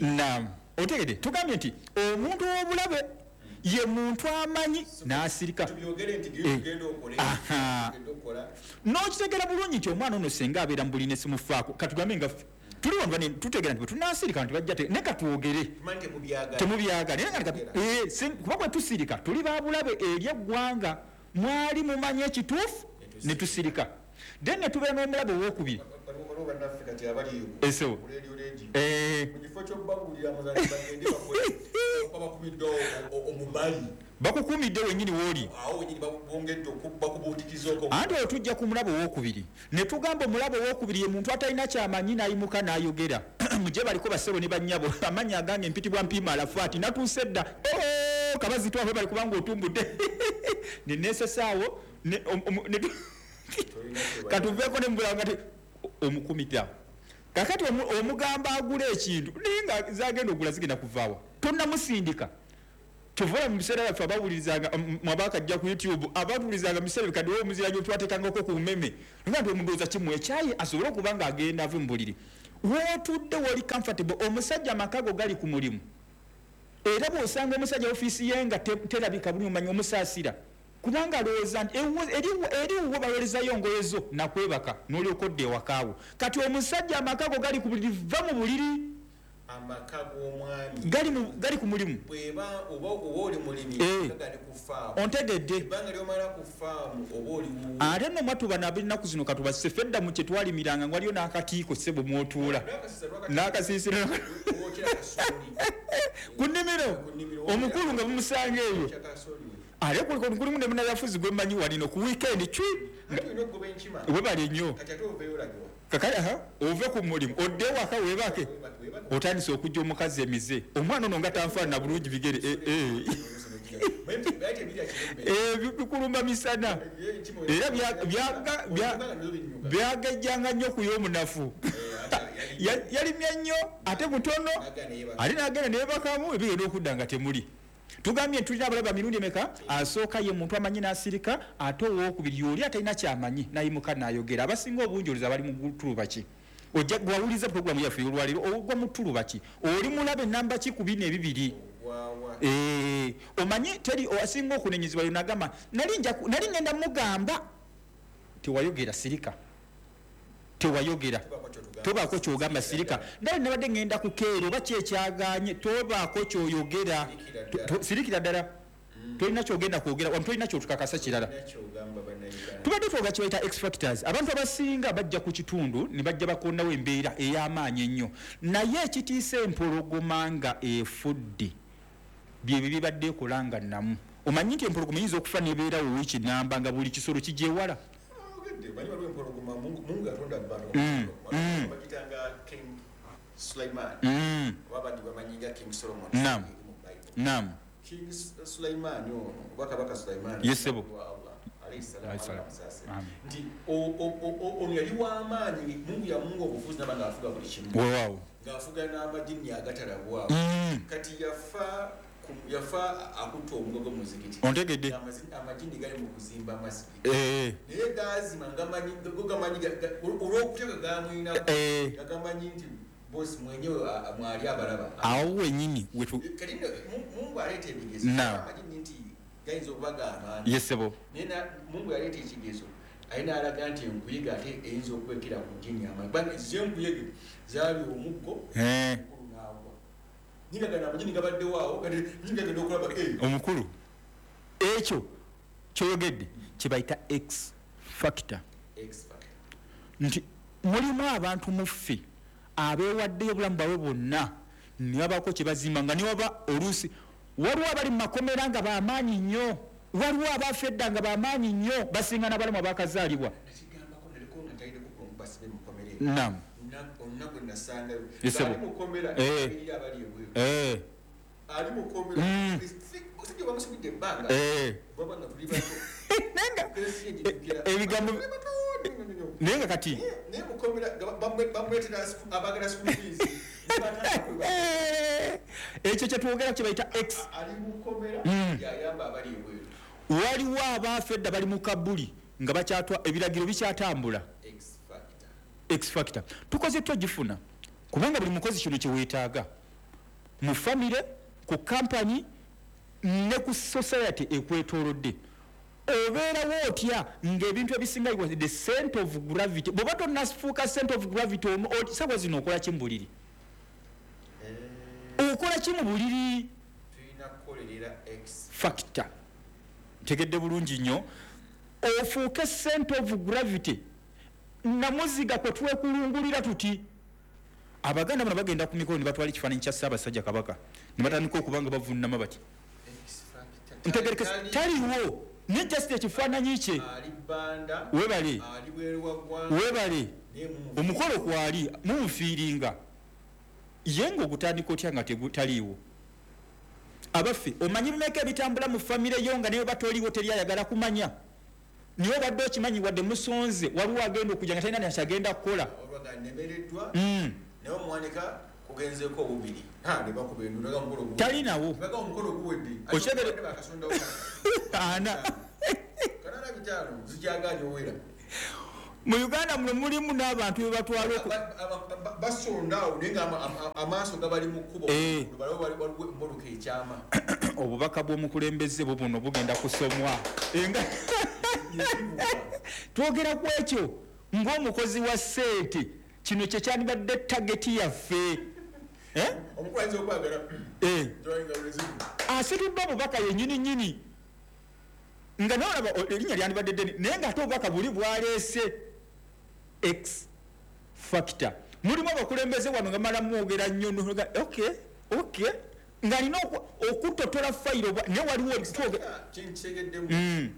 Naam, otegedde. Tugambye nti omuntu ow'obulabe ye muntu amanyi n'asirika. N'okitegeera bulungi nti omwana ono senga abeera mu buliri ne simufaako, katugambe nga tuli wano tutegeera nti bwe tunaasirika nti bajja naye katwogere temubyagala, kuba bwe tusirika tuli babulabe eri eggwanga. Mwali mumanyi ekituufu ne tusirika, then ne tubeera n'omulabe owookubiri. Bakukuumidde wennyini w'oli, anti olwo tujja ku mulabe owookubiri ne tugamba omulabe owookubiri ye muntu atalina kyamanyi n'ayimuka n'ayogera. Mujje baliko bassebo ne bannyabo, amannya agange mpitibwa Mpiima Alafaati, natuuse dda kabazi twafe bali kubanga otumbudde ne neesesaawo katuveeko ne mubulawo nga omukumita. Kakati omugamba agula ekintu naye nga zagenda ogula zigenda kuvaawa, tonnamusindika. Tuvola mu biseera byaffe abawulirizanga mwabakajja ku YouTube, abatuwulirizanga mu biseera bikadde omuzira twateekangako ku mmeme, nga nti omundowooza kimu ekyayi asobole okuba nga agenda ave mu buliri. Wootudde woli comfortable, omusajja amaka go gali ku mulimu, era bw'osanga omusajja ofiisi ye nga terabika bulungi omanyi omusaasira, kubanga alowooza nti eri wuwo baweerezayo ngoye zo nakwebaka n'olyoka odda ewakaawo. Kati omusajja amaka go gali ku buliri, va mu buliri. Amaka g'omwami gali gali ku mulimu, bweba oba oli mulimi gali ku faamu, ontegedde ebbanga ly'omala ku faamu oba oli wuwo. Ate nno mwatuba n'ab'ennaku zino katubasse ffe edda mu kye twalimiranga nga waliyo n'akatiiko ssebo mw'otuula n'akasiisira ku nnimiro, omukulu nga mumusanga eyo. Ate kulimu ne munnabyabufuzi gwe mmanyi walino ku weekend cwi webale nnyo. Kakati aha ove ku mulimu odde ewaka weebake, otandise okujja omukazi emize, omwana ono nga tanfaanana bulungi bigere bikulumba misana, era byagejjanga nnyo ku y'omunafu. Yalimya nnyo ate mutono, ate n'agenda neebakamu ebigenda okudda nga temuli. Tugambye tulina abalabe mirundi emeka? Asooka ye muntu amanyi n'asirika, ate owookubiri y'oli atalina kyamanyi n'ayimuka n'ayogera. Abasinga obungi olowooza bali mu ttuluba ki? Ojja gwawuliriza pulogulaamu yaffe olwaleero, ogwa mu ttuluba ki? Oli mulabe namba ki ku bino ebibiri? Eh, omanyi teri asinga okunenyezebwa yo nagamba nali nja nali ngenda mugamba tewayogera sirika. Tewayogera, tobaako kyogamba, sirika. Ndali nabadde ngenda kukeera oba kyekyaganye, tobaako kyoyogera, sirikira ddala. Tolina kyogenda kwogera wano, tolina kyotukakasa kirala. Tubadde twoga kibayita X factors. Abantu abasinga bajja ku kitundu ne bajja bakondawo embeera ey'amaanyi ennyo, naye ekitiisa empologoma nga efudde byebyo bibadde ekola nga nnamu. Omanyi nti empologoma eyinza okufa nebeerawo wiiki namba nga buli kisolo kigyewala. Naam, naam. King Sulaiman ono oba Kabaka Sulaiman yesebo nti ono yali w'amaanyi, Mungu yamunga obufuzi naba ng'afuga buli kimu, weewaawo ng'afuga n'amajinni agatalabwawo. Kati yafa yafa akutta omugogo mu muzikiti, ontegedde amajinni gali mu kuzimba amasigiti, naye gaazima go gamanyi olw'okutya ge gamwinako, gagamanyi nti bosi mwenyewe mwali abalaba awo wenyini. Kati Mungu aleeta ebigezo, amajinni nti gayinza okuba g'amaanyi yesebo, naye Mungu yaleeta ekigezo alina alaga nti enkuyege ate eyinza okwekera ku jjini amaanyi, kubanga ezo enkuyege zaali omuggo omukulu n'agwa, ningagana amajinni gabaddewo awo, kati ningagenda okulaba omukulu. Ekyo kyoyogedde kye bayita X factor, nti mulimu abantu muffe abeewaddeyo obulamu bwabwe bwonna ne babaako kye bazimba, nga newaba oluusi waliwo abali mu makomera nga bamaanyi nnyo, waliwo abaafa edda nga bamaanyi nnyo, basinga n'abalamu abaakazaalibwa. Naam, ebigambo naye nga kati ekyo kyetwogera kye bayita X. Waliwo abaafa edda bali mu kabuli nga bakyatwa ebiragiro bikyatambula. X factor tukoze twagifuna, kubanga buli mukozi kino kyeweetaaga mu famire, ku kampani ne ku society ekwetoolodde. Obeerawo otya ng'ebintu ebisinga the center of gravity? Bw'oba tonnafuuka center of gravity, sawa zino okola ki mu buliri? Okola ki mu buliri? Factor ntegedde bulungi nnyo, ofuuke center of gravity. Namuziga kwe twekulungulira tuti Abaganda bano bagenda ku mikolo ne batwala ekifaananyi kya Ssaabasajja Kabaka ne batandika okuba nga bavunnama bati, ntegereke taliwo, ne just ekifaananyi kye. Webale, webale omukolo kwali mumufiiringa ye ng'ogutandika otya nga taliiwo? Abaffe, omanyi bimeka ebitambula mu famire yo nga naye batoliiwo teri ayagala kumanya? Niwe obadde okimanyi wadde musonze waliwo agenda okujja nga talina nakyagenda kukola. Talinawo ana mu Uganda muno mulimu n'abantu be batwala basondawo naye nga amaaso gabali mu kkubo, waliwo ekyama. Obubaka bw'omukulembeze bwo buno bugenda kusomwa. Twogera ku ekyo ng'omukozi wa ssente, kino kye kyandibadde tageti yaffe. Asitudde obubaka yennyini nnyini nga nolaba erinnya lyandibadde ddene, naye ng'ate obubaka buli bwaleese X factor. Mulimu abakulembeze wano nga mala mwogera nnyo, okay okay, ng'alina okutotola fayiro, naye waliwo kyentegeddemu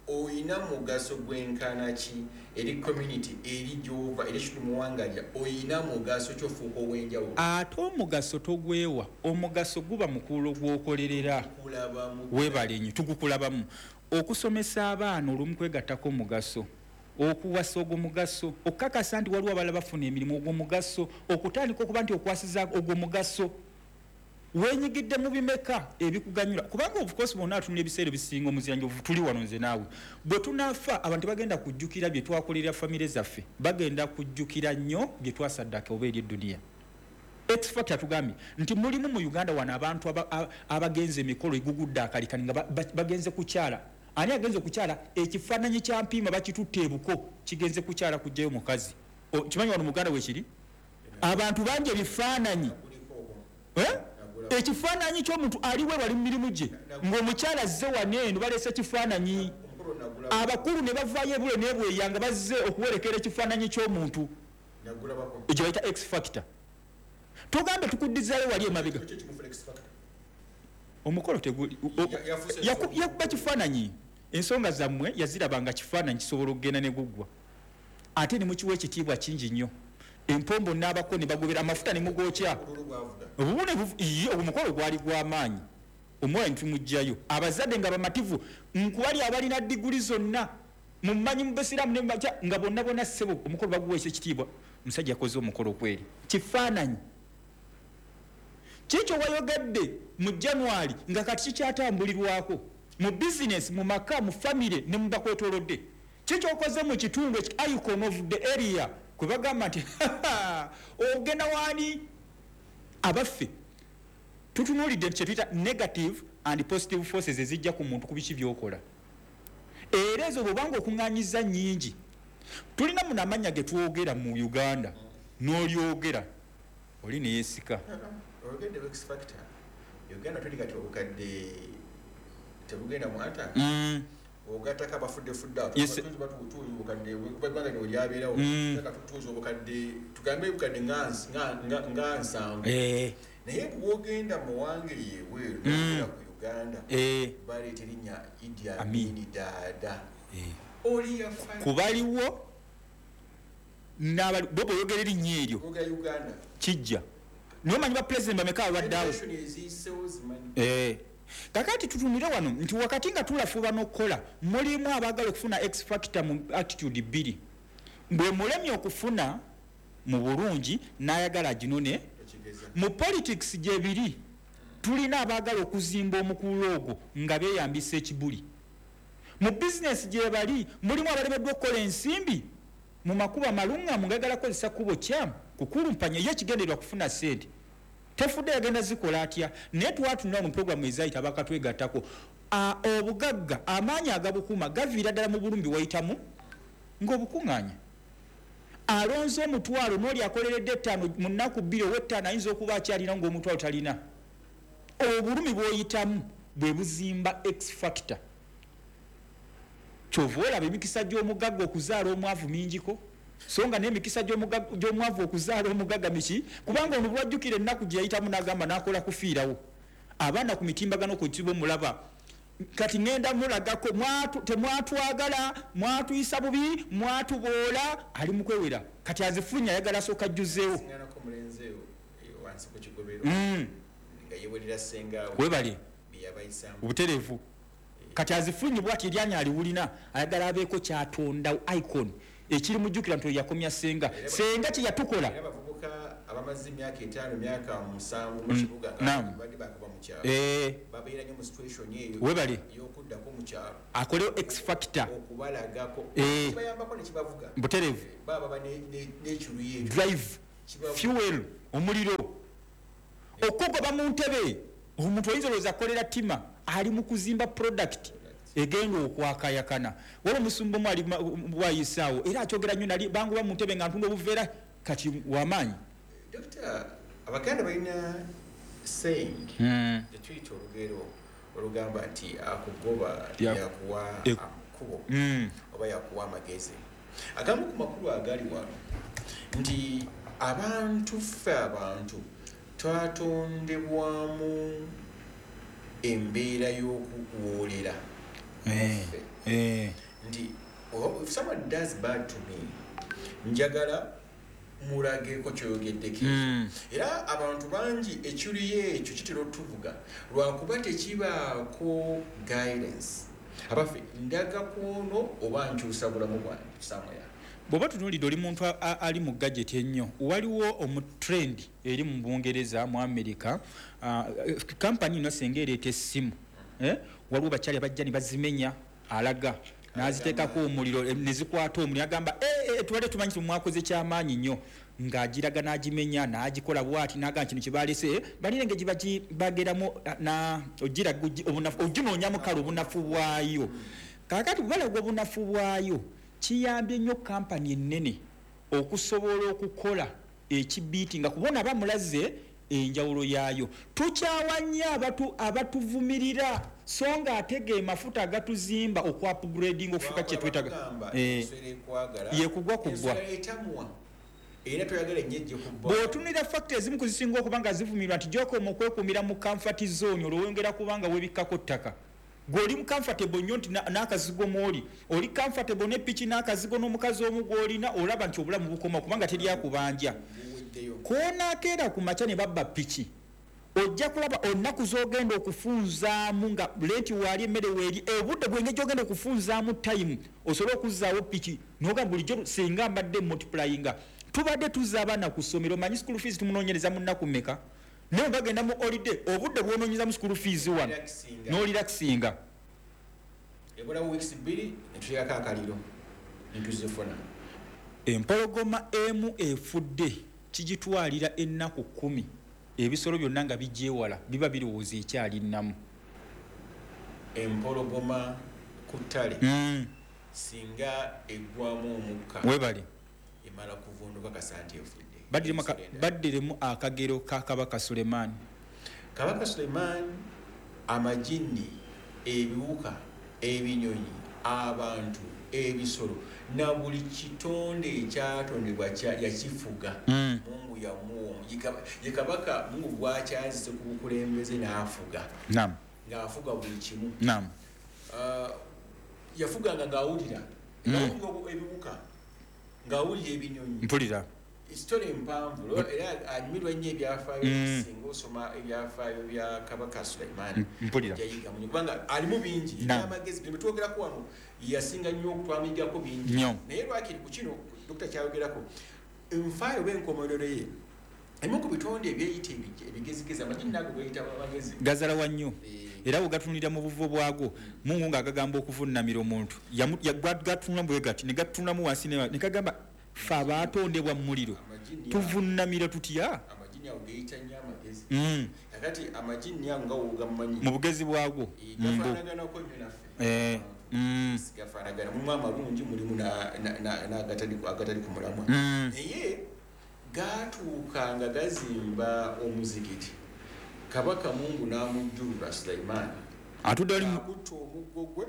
oyina mugaso gwenkana ki eri community, eri gy'ova, eri ekitundu muwangalya, oyina mugaso kyofuuka ow'enjawulo? Ate omugaso togwewa, omugaso guba mukuulo gw'okolerera. Weebale nnyo, tugukulabamu. Okusomesa abaana olumu kwegattako omugaso, okuwasa ogwo mugaso, okukakasa nti waliwo abalala bafuna emirimu ogwo mugaso, okutandika okuba nti okwasiza ogwo mugaso. Wenyigidde mu bimeka ebikuganyula? Kubanga of course bonna atunula ebiseera ebisinga omuziranjovu tuli wano nze naawe, bwe tunaafa abantu bagenda kujjukira bye twakolera famire zaffe, bagenda kujjukira nnyo bye twasaddaka oba eri eduniya. X factor tugambye nti mulimu mu Uganda wano abantu abagenze emikolo egugudde akalikani nga bagenze kukyala, Ani agenze okukyala? Ekifaananyi kya Mpiima bakitutte ebuko, kigenze kukyala kujjayo mukazi. Kimanyi wano muganda wekiri abantu bangi ebifaananyi. Ekifaananyi ky'omuntu aliwe wali mu mirimu gye ng'omukyala azze wano eno, baleese ekifaananyi, abakulu ne bavaayo ebule nebweya nga bazze okuwerekera ekifaananyi ky'omuntu ekyo bayita X factor. Tugambe tukuddizaayo wali emabega omukolo yakuba kifaananyi, ensonga zammwe yazirabanga kifaananyi kisobola okugenda ne guggwa, ate ne mukiwa ekitiibwa kingi nnyo. Empombo n'abako ne bagobera amafuta ne mugokya obubune. Omukolo gwali gw'amaanyi, omwoyo ntumuggyayo, abazadde nga bamativu, nkubali abalina diguli zonna mumanyi mu basiraamu ne mubakya nga bonna bonna ssebo omukolo baguweesa ekitiibwa. Omusajja yakoze omukolo kweri kifaananyi kikyo wayogedde mu January nga kati kikyatambulirwako mu bizinesi, mu maka, mu famire ne mu bakwetoolodde. Kikyo okoze mu kitundu icon of the area kwe bagamba nti ogenda waani. Abaffe tutunuulidde kye tuyita negative and positive forces ezijja ku muntu ku biki by'okola, era ezo bw'obanga okuŋŋaanyiza nnyingi. Tulina muno amannya ge twogera mu Uganda n'olyogera oli neyeesika. Oyogedde X factor. Uganda tuli kati obukadde tebugenda mu ata ogattako abafuddefudde batuuza obukadde eggwanga lino lyabeerawo tuuza obukadde tugambe obukadde nga nsanvu, naye bw'ogenda mu wange yeebweru n'ogenda ku Uganda baleeta erinnya Idi Amin Dada oli yafa kubaliwo bo bw'oyogera erinnya eryo kijja. Naye omanyi bapulezidenti bameka abaddeawo? Kakati tutunire wano nti wakati nga tulafuba n'okukola mulimu abaagala okufuna X factor mu attitude bbiri, bwe mulemye okufuna mu bulungi n'ayagala aginone. Mu politics gye biri tulina abaagala okuzimba omukululo ogwo nga beeyambisa ekibuli. Mu bizinesi gye bali mulimu abalemeddwa okukola ensimbi mu makubo amalungamu nga ayagala kukozesa kkubo kyamu kukulumpanya ye ekigendererwa kufuna ssente, tefudde yagenda zikola atya. Naye twatunula mu puroguramu ezayita abakatwegattako obugagga amaanyi agabukuma gaviira ddala mu bulumbi wayitamu ng'obukuŋŋaanya. Alonze omutwalo n'oli akoleredde ettaano mu nnaku bbiri ow'ettaano ayinza okuba akyalina ng'omutwalo talina. Obulumi bw'oyitamu bwe buzimba X factor. Kyova olaba emikisa gy'omugagga okuzaala omwavu mingiko, so nga n'emikisa gy'omwavu okuzaala omugagga miki, kubanga ono bw'ajjukira ennaku gye yayitamu n'agamba n'akola kufiirawo. Abaana ku mitimbagano ku kibo mulaba kati ŋŋenda mulagako temwatwagala, mwatuyisa bubi, mwatuboola, ali mu kwewera kati azifunye ayagala asooka ajjuzeewo. Webale obutereevu kati azifunye bwati eryanyi aliwulina ayagala abeeko kyatonda icon ekiri mujjukira nti yakomya senga senga kye yatukola. Abamaze emyaka etaano myaka musanvu mu kibuga badde bakuba mu kyalo babeera nnyo mu situation eyo webale ey'okuddako mu kyalo akolewo X factor okubalagako kibayambako ne kibavuga butereevu baba baba n'ekiruyi ekyo drive fuel omuliro okugoba mu ntebe. Omuntu oyinza olowooza akolera ttima ali mu kuzimba product egenda okwakayakana. Waliwo omusumba omu ali bwayisaawo era akyogera nnyo nali bangoba mu ntebe nga ntunda obuveera kati wamaanyi. Dokita, Abaganda balina saying tetuyita olugero olugamba nti akugoba yakuwa amakubo oba yakuwa amagezi. Agamu ku makulu agali wano nti abantu ffe abantu twatondebwamu embeera y'okuwoolera nti if someone does bad to me njagala mulageko kyoyogeddeko. Era abantu bangi ekiruyi ekyo kitera otuvuga lwakuba tekibaako guidance. Abaffe ndaga kwono oba nkyusa bulamu bwange somewhere. Bw'oba tunuulidde oli muntu ali mu gadget ennyo, waliwo omu trend eri mu Bungereza mu America, kampani ino singa ereeta essimu, waliwo bakyali abajja ne bazimenya alaga n'aziteekako omuliro ne zikwata omuliro agamba tubadde tumanyi nti mwakoze kyamaanyi nnyo. Ng'agiraga n'agimenya n'agikola bw'ati n'agamba kino kye baleese balina engeri gye bageramu na ogiraga oginoonyamu kale obunafu bwayo. Kaakati bwe balaga obunafu bwayo kiyambye nnyo kampani ennene okusobola okukola ekibiiti nga kubona bamulaze enjawulo yaayo. Tukyawa nnyo abatu abatuvumirira so nga ate ge mafuta agatuzimba oku upgrading okufuuka kye twetaaga. Ye kugwa kugwa. Era toyagala nnyo ejje kubba. Bw'otunulira factor ezimu ku zisinga okuba nga zivumirwa nti gy'okoma okwekuumira mu comfort zone olwo wongera kubanga weebikkako ttaka. Gwe oli mu comfortable nnyo nti n'akazigo mw'oli oli comfortable ne piki n'akazigo n'omukazi omu gw'olina olaba nti obulamu bukoma kubanga teri akubanja. K'onaakeera ku makya ne babba piki ojja kulaba olunaku z'ogenda okufunzaamu nga rent waali emmere weeri obudde bwenge gy'ogenda okufunzaamu time osobole okuzzaawo piki n'ogamba bulijjo singa mbadde multiplyinga. Tubadde tuzza abaana ku ssomero omanyi school fees tumunoonyereza mu nnaku mmeka naye bagenda mu holiday obudde bw'onoonyeza mu school fees wano n'orelaxinga. Ebulawo weeks bbiri ne tuteekako akaliro ne tuzifuna. Empologoma emu efudde kigitwalira ennaku kkumi ebisolo byonna nga bigyewala biba birowooza ekyali nnamu. Empologoma ku ttale mm. singa eggwamu omukka webale emala kuvunduka kasante efudde. Baddiremu akagero ka Kabaka Sulemaani. Kabaka Sulemaani amajinni, ebiwuka, ebinyonyi, abantu, ebisolo na buli kitonde ekyatondebwa yakifuga. Mm. Mungu yamuwa ye kabaka Mungu gwakyazize ku bukulembeze n'afuga. Naam. Ng'afuga buli kimu. Naam. Uh, yafuganga ng'awulira. Mm. Ng'awulira ebiwuka, ng'awulira ebinyonyi. Mpulira. Story mpanvu era anyumirwa nnyo ebyafaayo mm. singa osoma ebyafaayo bya Kabaka Sulaiman. Mpulira. Yayiga munyo kubanga alimu bingi ebyamagezi bye twogerako wano yasinga nnyo okutwamigako bingi. Naye lwakiri ku kino Dokita kyayogerako enfaayo b'enkomerero ye emu ku bitonde ebyeyita ebigezigezi amagini nago gayita amagezi gazalawa nnyo era bwe mu buvo bwago Mungu ng'agagamba okuvunnamira omuntu gatunula bwe gati ne gatunulamu wansi ne kagamba ffe abaatondebwa mu muliro tuvunnamira tutya? Amagini ago geyita nnyo amagezi. Mm. Kakati amagini ago nga wogamanyi mu bugezi bwago gafaanaganako nnyo naffe. Eh, mm. Gafaanagana mulimu amalungi mulimu n'agatali ku mulamwa. Mm. Naye gatuuka nga gazimba omuzikiti Kabaka Mungu n'amujjulula Sulaimaani atudde ali akutta omuggo gwe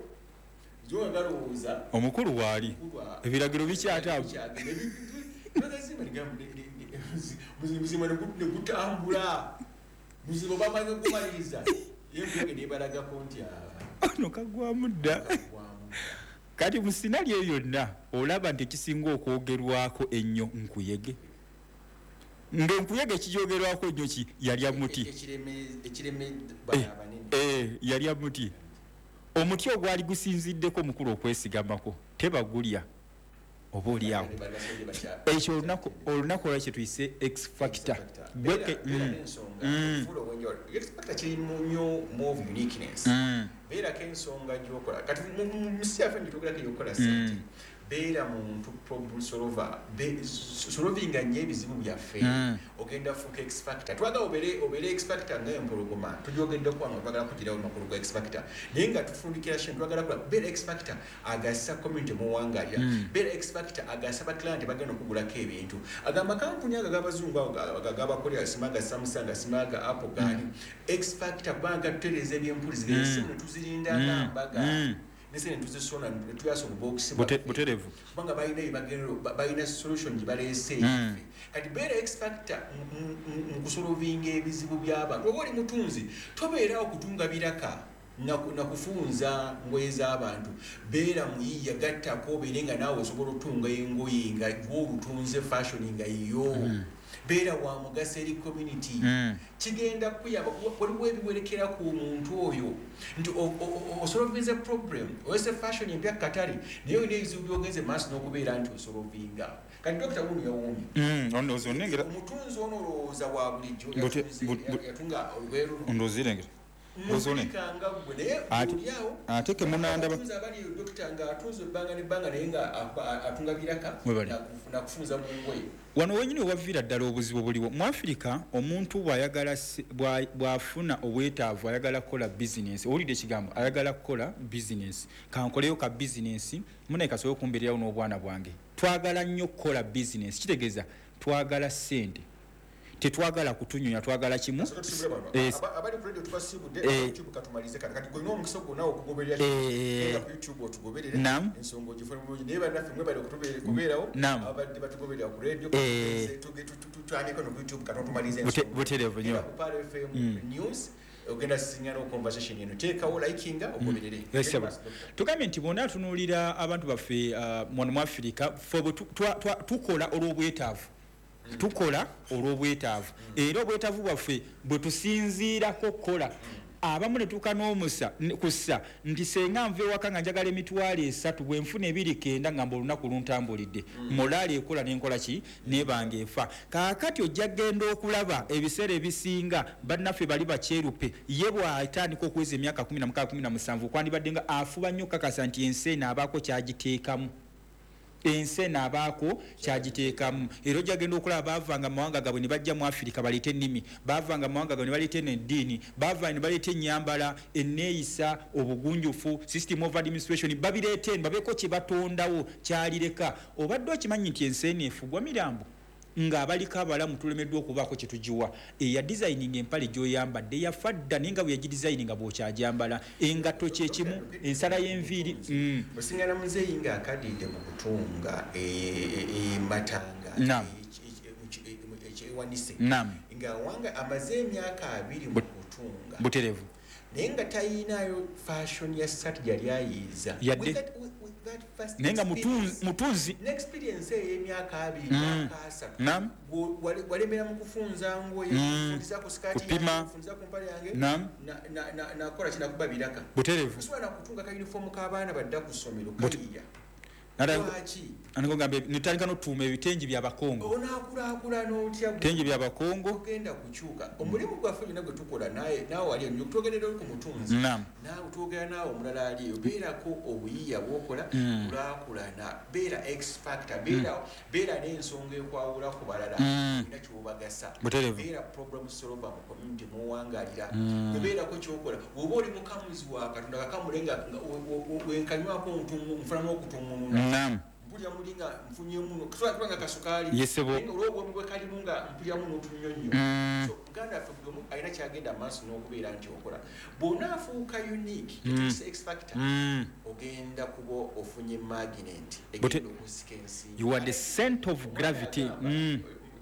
zo galowooza omukulu waali ebiragiro bikyata muzimba ne gutambula muzimba bamaze okumaliriza yenkuge nebalagako nti ono kagwamu dda. Kati mu sinali eyo yonna olaba nti ekisinga okwogerwako ennyo nkuyege ng'enkuyege ekigyogerwako ennyo ki yalya muti yalya muti omuti ogwali gusinziddeko mukulu okwesigamako tebagulya oba oliawo ekyo olunaku olunaku olwa kye tuyise X factor. X factor kirimu nnyo more of uniqueness. Beerako ensonga gy'okola kati mu nsi yaffe ntitugerako ey'okukola ssente. Beera muntu problem solver, solvinga nnyo ebizibu byaffe ogenda fuuka X factor. Twagala obeere obeere X factor ng'empologoma tugyogeddeko wano twagala kugirawo makulu ga X factor naye nga tufundikira shene twagala kula beera X factor agasa community muwangalira beera X factor agasa baklienti bagenda okugulako ebintu agamba kampuni ago ag'abazungu ago agabakolera simaga Samsung simaga Apple gaani X factor kubanga tutereeza ebyempuliziganya essimu ne tuzirinda nga mbaga nese ntuzisona ntuyasa obubokisi buterevu kubanga balina ebagendo balina solution gye baleese mm. Kati beera X factor mu kusolvinga ebizibu by'abantu oba oli mutunzi tobeerawo kutunga biraka na kufunza ngoye z'abantu beera muyiiya gattako obeere nga naawe osobola otunga engoye nga gw'olutunze fashion nga yo mm. Beera wa mugaso eri community. Mm. Kigenda kuyamba waliwo ebiwerekera ku muntu oyo nti osolvinze problem oyese fashion empya katale naye olina ebizibu by'ogenze maaso n'okubeera nti osolovinga. Kati Dokita wuno yawuumye omutunzi ono olowooza wa bulijjo yatunga olugoye luno ndowooza irengera Bozone. Ate ke munanda abatunzi abali doctor nga atunze ebbanga n'ebbanga naye nga atunga biraka na kufunza mu ngoye. Wano wenyini wavira ddala obuzibu buliwo mu Afrika. Omuntu bw'ayagala bw'afuna obwetaavu ayagala kukola business, owulidde ekigambo ayagala kukola business, kankoleyo ka business munaye kasobole okumbeererawo n'obwana bwange. Twagala nnyo kukola business, kitegeeza twagala ssente, tetwagala kutunyonya, twagala kimu. Abali ku radio tubasiibudde, YouTube katumalize kati. Kati golina omukisa gwonna okugoberera ku YouTube, otugoberere ensonga ogifune bulungi. Naye bannaffe mwebale okubeerawo, abadde batugoberera ku radio, tutandike no ku YouTube kati otumalize ensonga butereevu nnyo. Ku Pearl F M News ogenda sisinkana conversation eno, teekawo likinga ogoberere. Tugambye nti bonna tunuulira abantu baffe wano mu Afirika, ffe tukola olw'obwetaavu, tukola olw'obwetaavu, era obwetaavu bwaffe bwe tusinziirako kukola. Abamu ne tuuka n'omusa kussa nti senga nva ewaka nga njagala emitwalo esatu, bwe nfuna ebiri kenda ngamba olunaku luntambulidde. Molaali ekola n'enkola ki nebanga efa. Kaakati ojja genda okulaba ebiseera ebisinga bannaffe bali bakyerupe, ye bw'atandika okuweza emyaka kumi na mukaaga, kumi na musanvu, kwandibadde nga afuba nnyo kakasa nti ensi eno abaako kyagiteekamu, ensi eno abaako kyagiteekamu. Era ojja genda okulaba baavanga mu mawanga gaabwe ne bajja mu Afirika baleete ennimi, baavanga mu mawanga gaabwe ne baleeta eno eddiini, baava ne baleeta ennyambala, enneeyisa, obugunjufu, system of administration, babireeta eno babeeko kye batondawo kyalireka. Obadde okimanyi nti ensi eno efugwa mirambo ng'abaliko abalamu tulemeddwa okubaako kye tugiwa? Eya designing empale gy'oyambadde yafa dda, naye nga bwe yagidesigninga bw'okyagyambala. Engatto kyekimu, ensala y'enviiri. mm. Osingana muzeeyi ng'akadidde mu kutunga ematanga ekyewanise, ng'awanga amaze emyaka abiri mu kutunga buterevu, naye nga tayinayo fashion ya sati gyali ayiiza. Yadde, naye nga mutunzi. N'experience ey'emyaka abiri, myaka asatu, walemera mu kufunza ngoye, kufunza ku sikaati, kufunza ku mpale yange, nakola kinakuba biraka buterevu. Osobola nakutunga ka uniform k'abaana badda ku ssomero kayiya. Gambe nitandika notuuma ebitengi byabakongo. Onaakulaakulana otya? Bitengi byabakongo. Ogenda kukyuka omulimu gwaffe gyonna gwe tukola. Naye naawe wali ennyo, twogerera ku mutunzi, naawe twogera naawe omulala aliyo, beerako obuyiiya bwokola, kulaakulana, beera X factor, beera n'ensonga ekwawula ku balala, olina kyobagasa, beera problem solver mu community muwangalira, beerako kyokola. Bw'oba oli mukamuzi wa Katonda, kakamule nga wenkanywako nfunamu okutuŋŋununa, mpulira muli nga nfunyemu nga kasukaali olw'obwomi bwe kalimu nga mpuliramu n'otunyonyo. So muganda waffe, buli omu alina kyagenda maaso n'okubeera nti okola. Bw'onaafuuka unique, etuuse X factor, ogenda kuba ofunye magnet egenda okusika ensimbi. You are the center of gravity.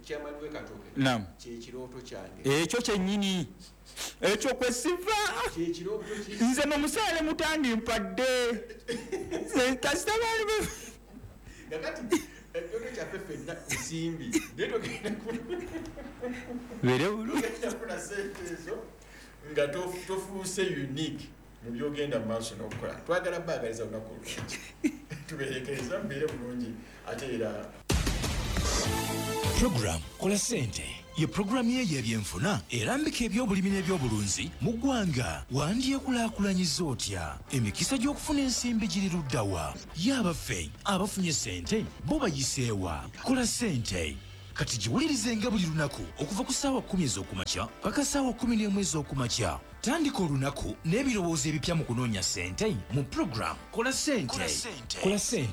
Chairman w'e Katooke, kyekirooto kyange. Ekyo kyennyini, ekyo kwesiva. Nze nomusaale mutandi mpadde kasita baali. Kakati ekyoto kyaffe ffenna nsimbi, naye togenda bere bulungi kufuna sente ezo nga tofuuse unique mu byogenda mu maaso n'okukola. Twagala baagaliza olunaku olulungi, tuberekereza mubeere bulungi ate era. Program Kola Sente ye puroguramu ye y'ebyenfuna erambika ebyobulimi n'ebyobulunzi mu ggwanga. Wandyekulaakulanyiza otya? Emikisa gy'okufuna ensimbi giri luddawa? Ye abaffe abafunye sente bo bayiseewa? Kola Sente kati giwulirizenga buli lunaku okuva ku ssaawa kkumi ez'okumakya paka ssaawa kkumi n'emu ez'okumakya. Tandika olunaku n'ebirowoozo ebipya mu kunoonya ssente mu puroguramu Kola Sente. Kola Sente.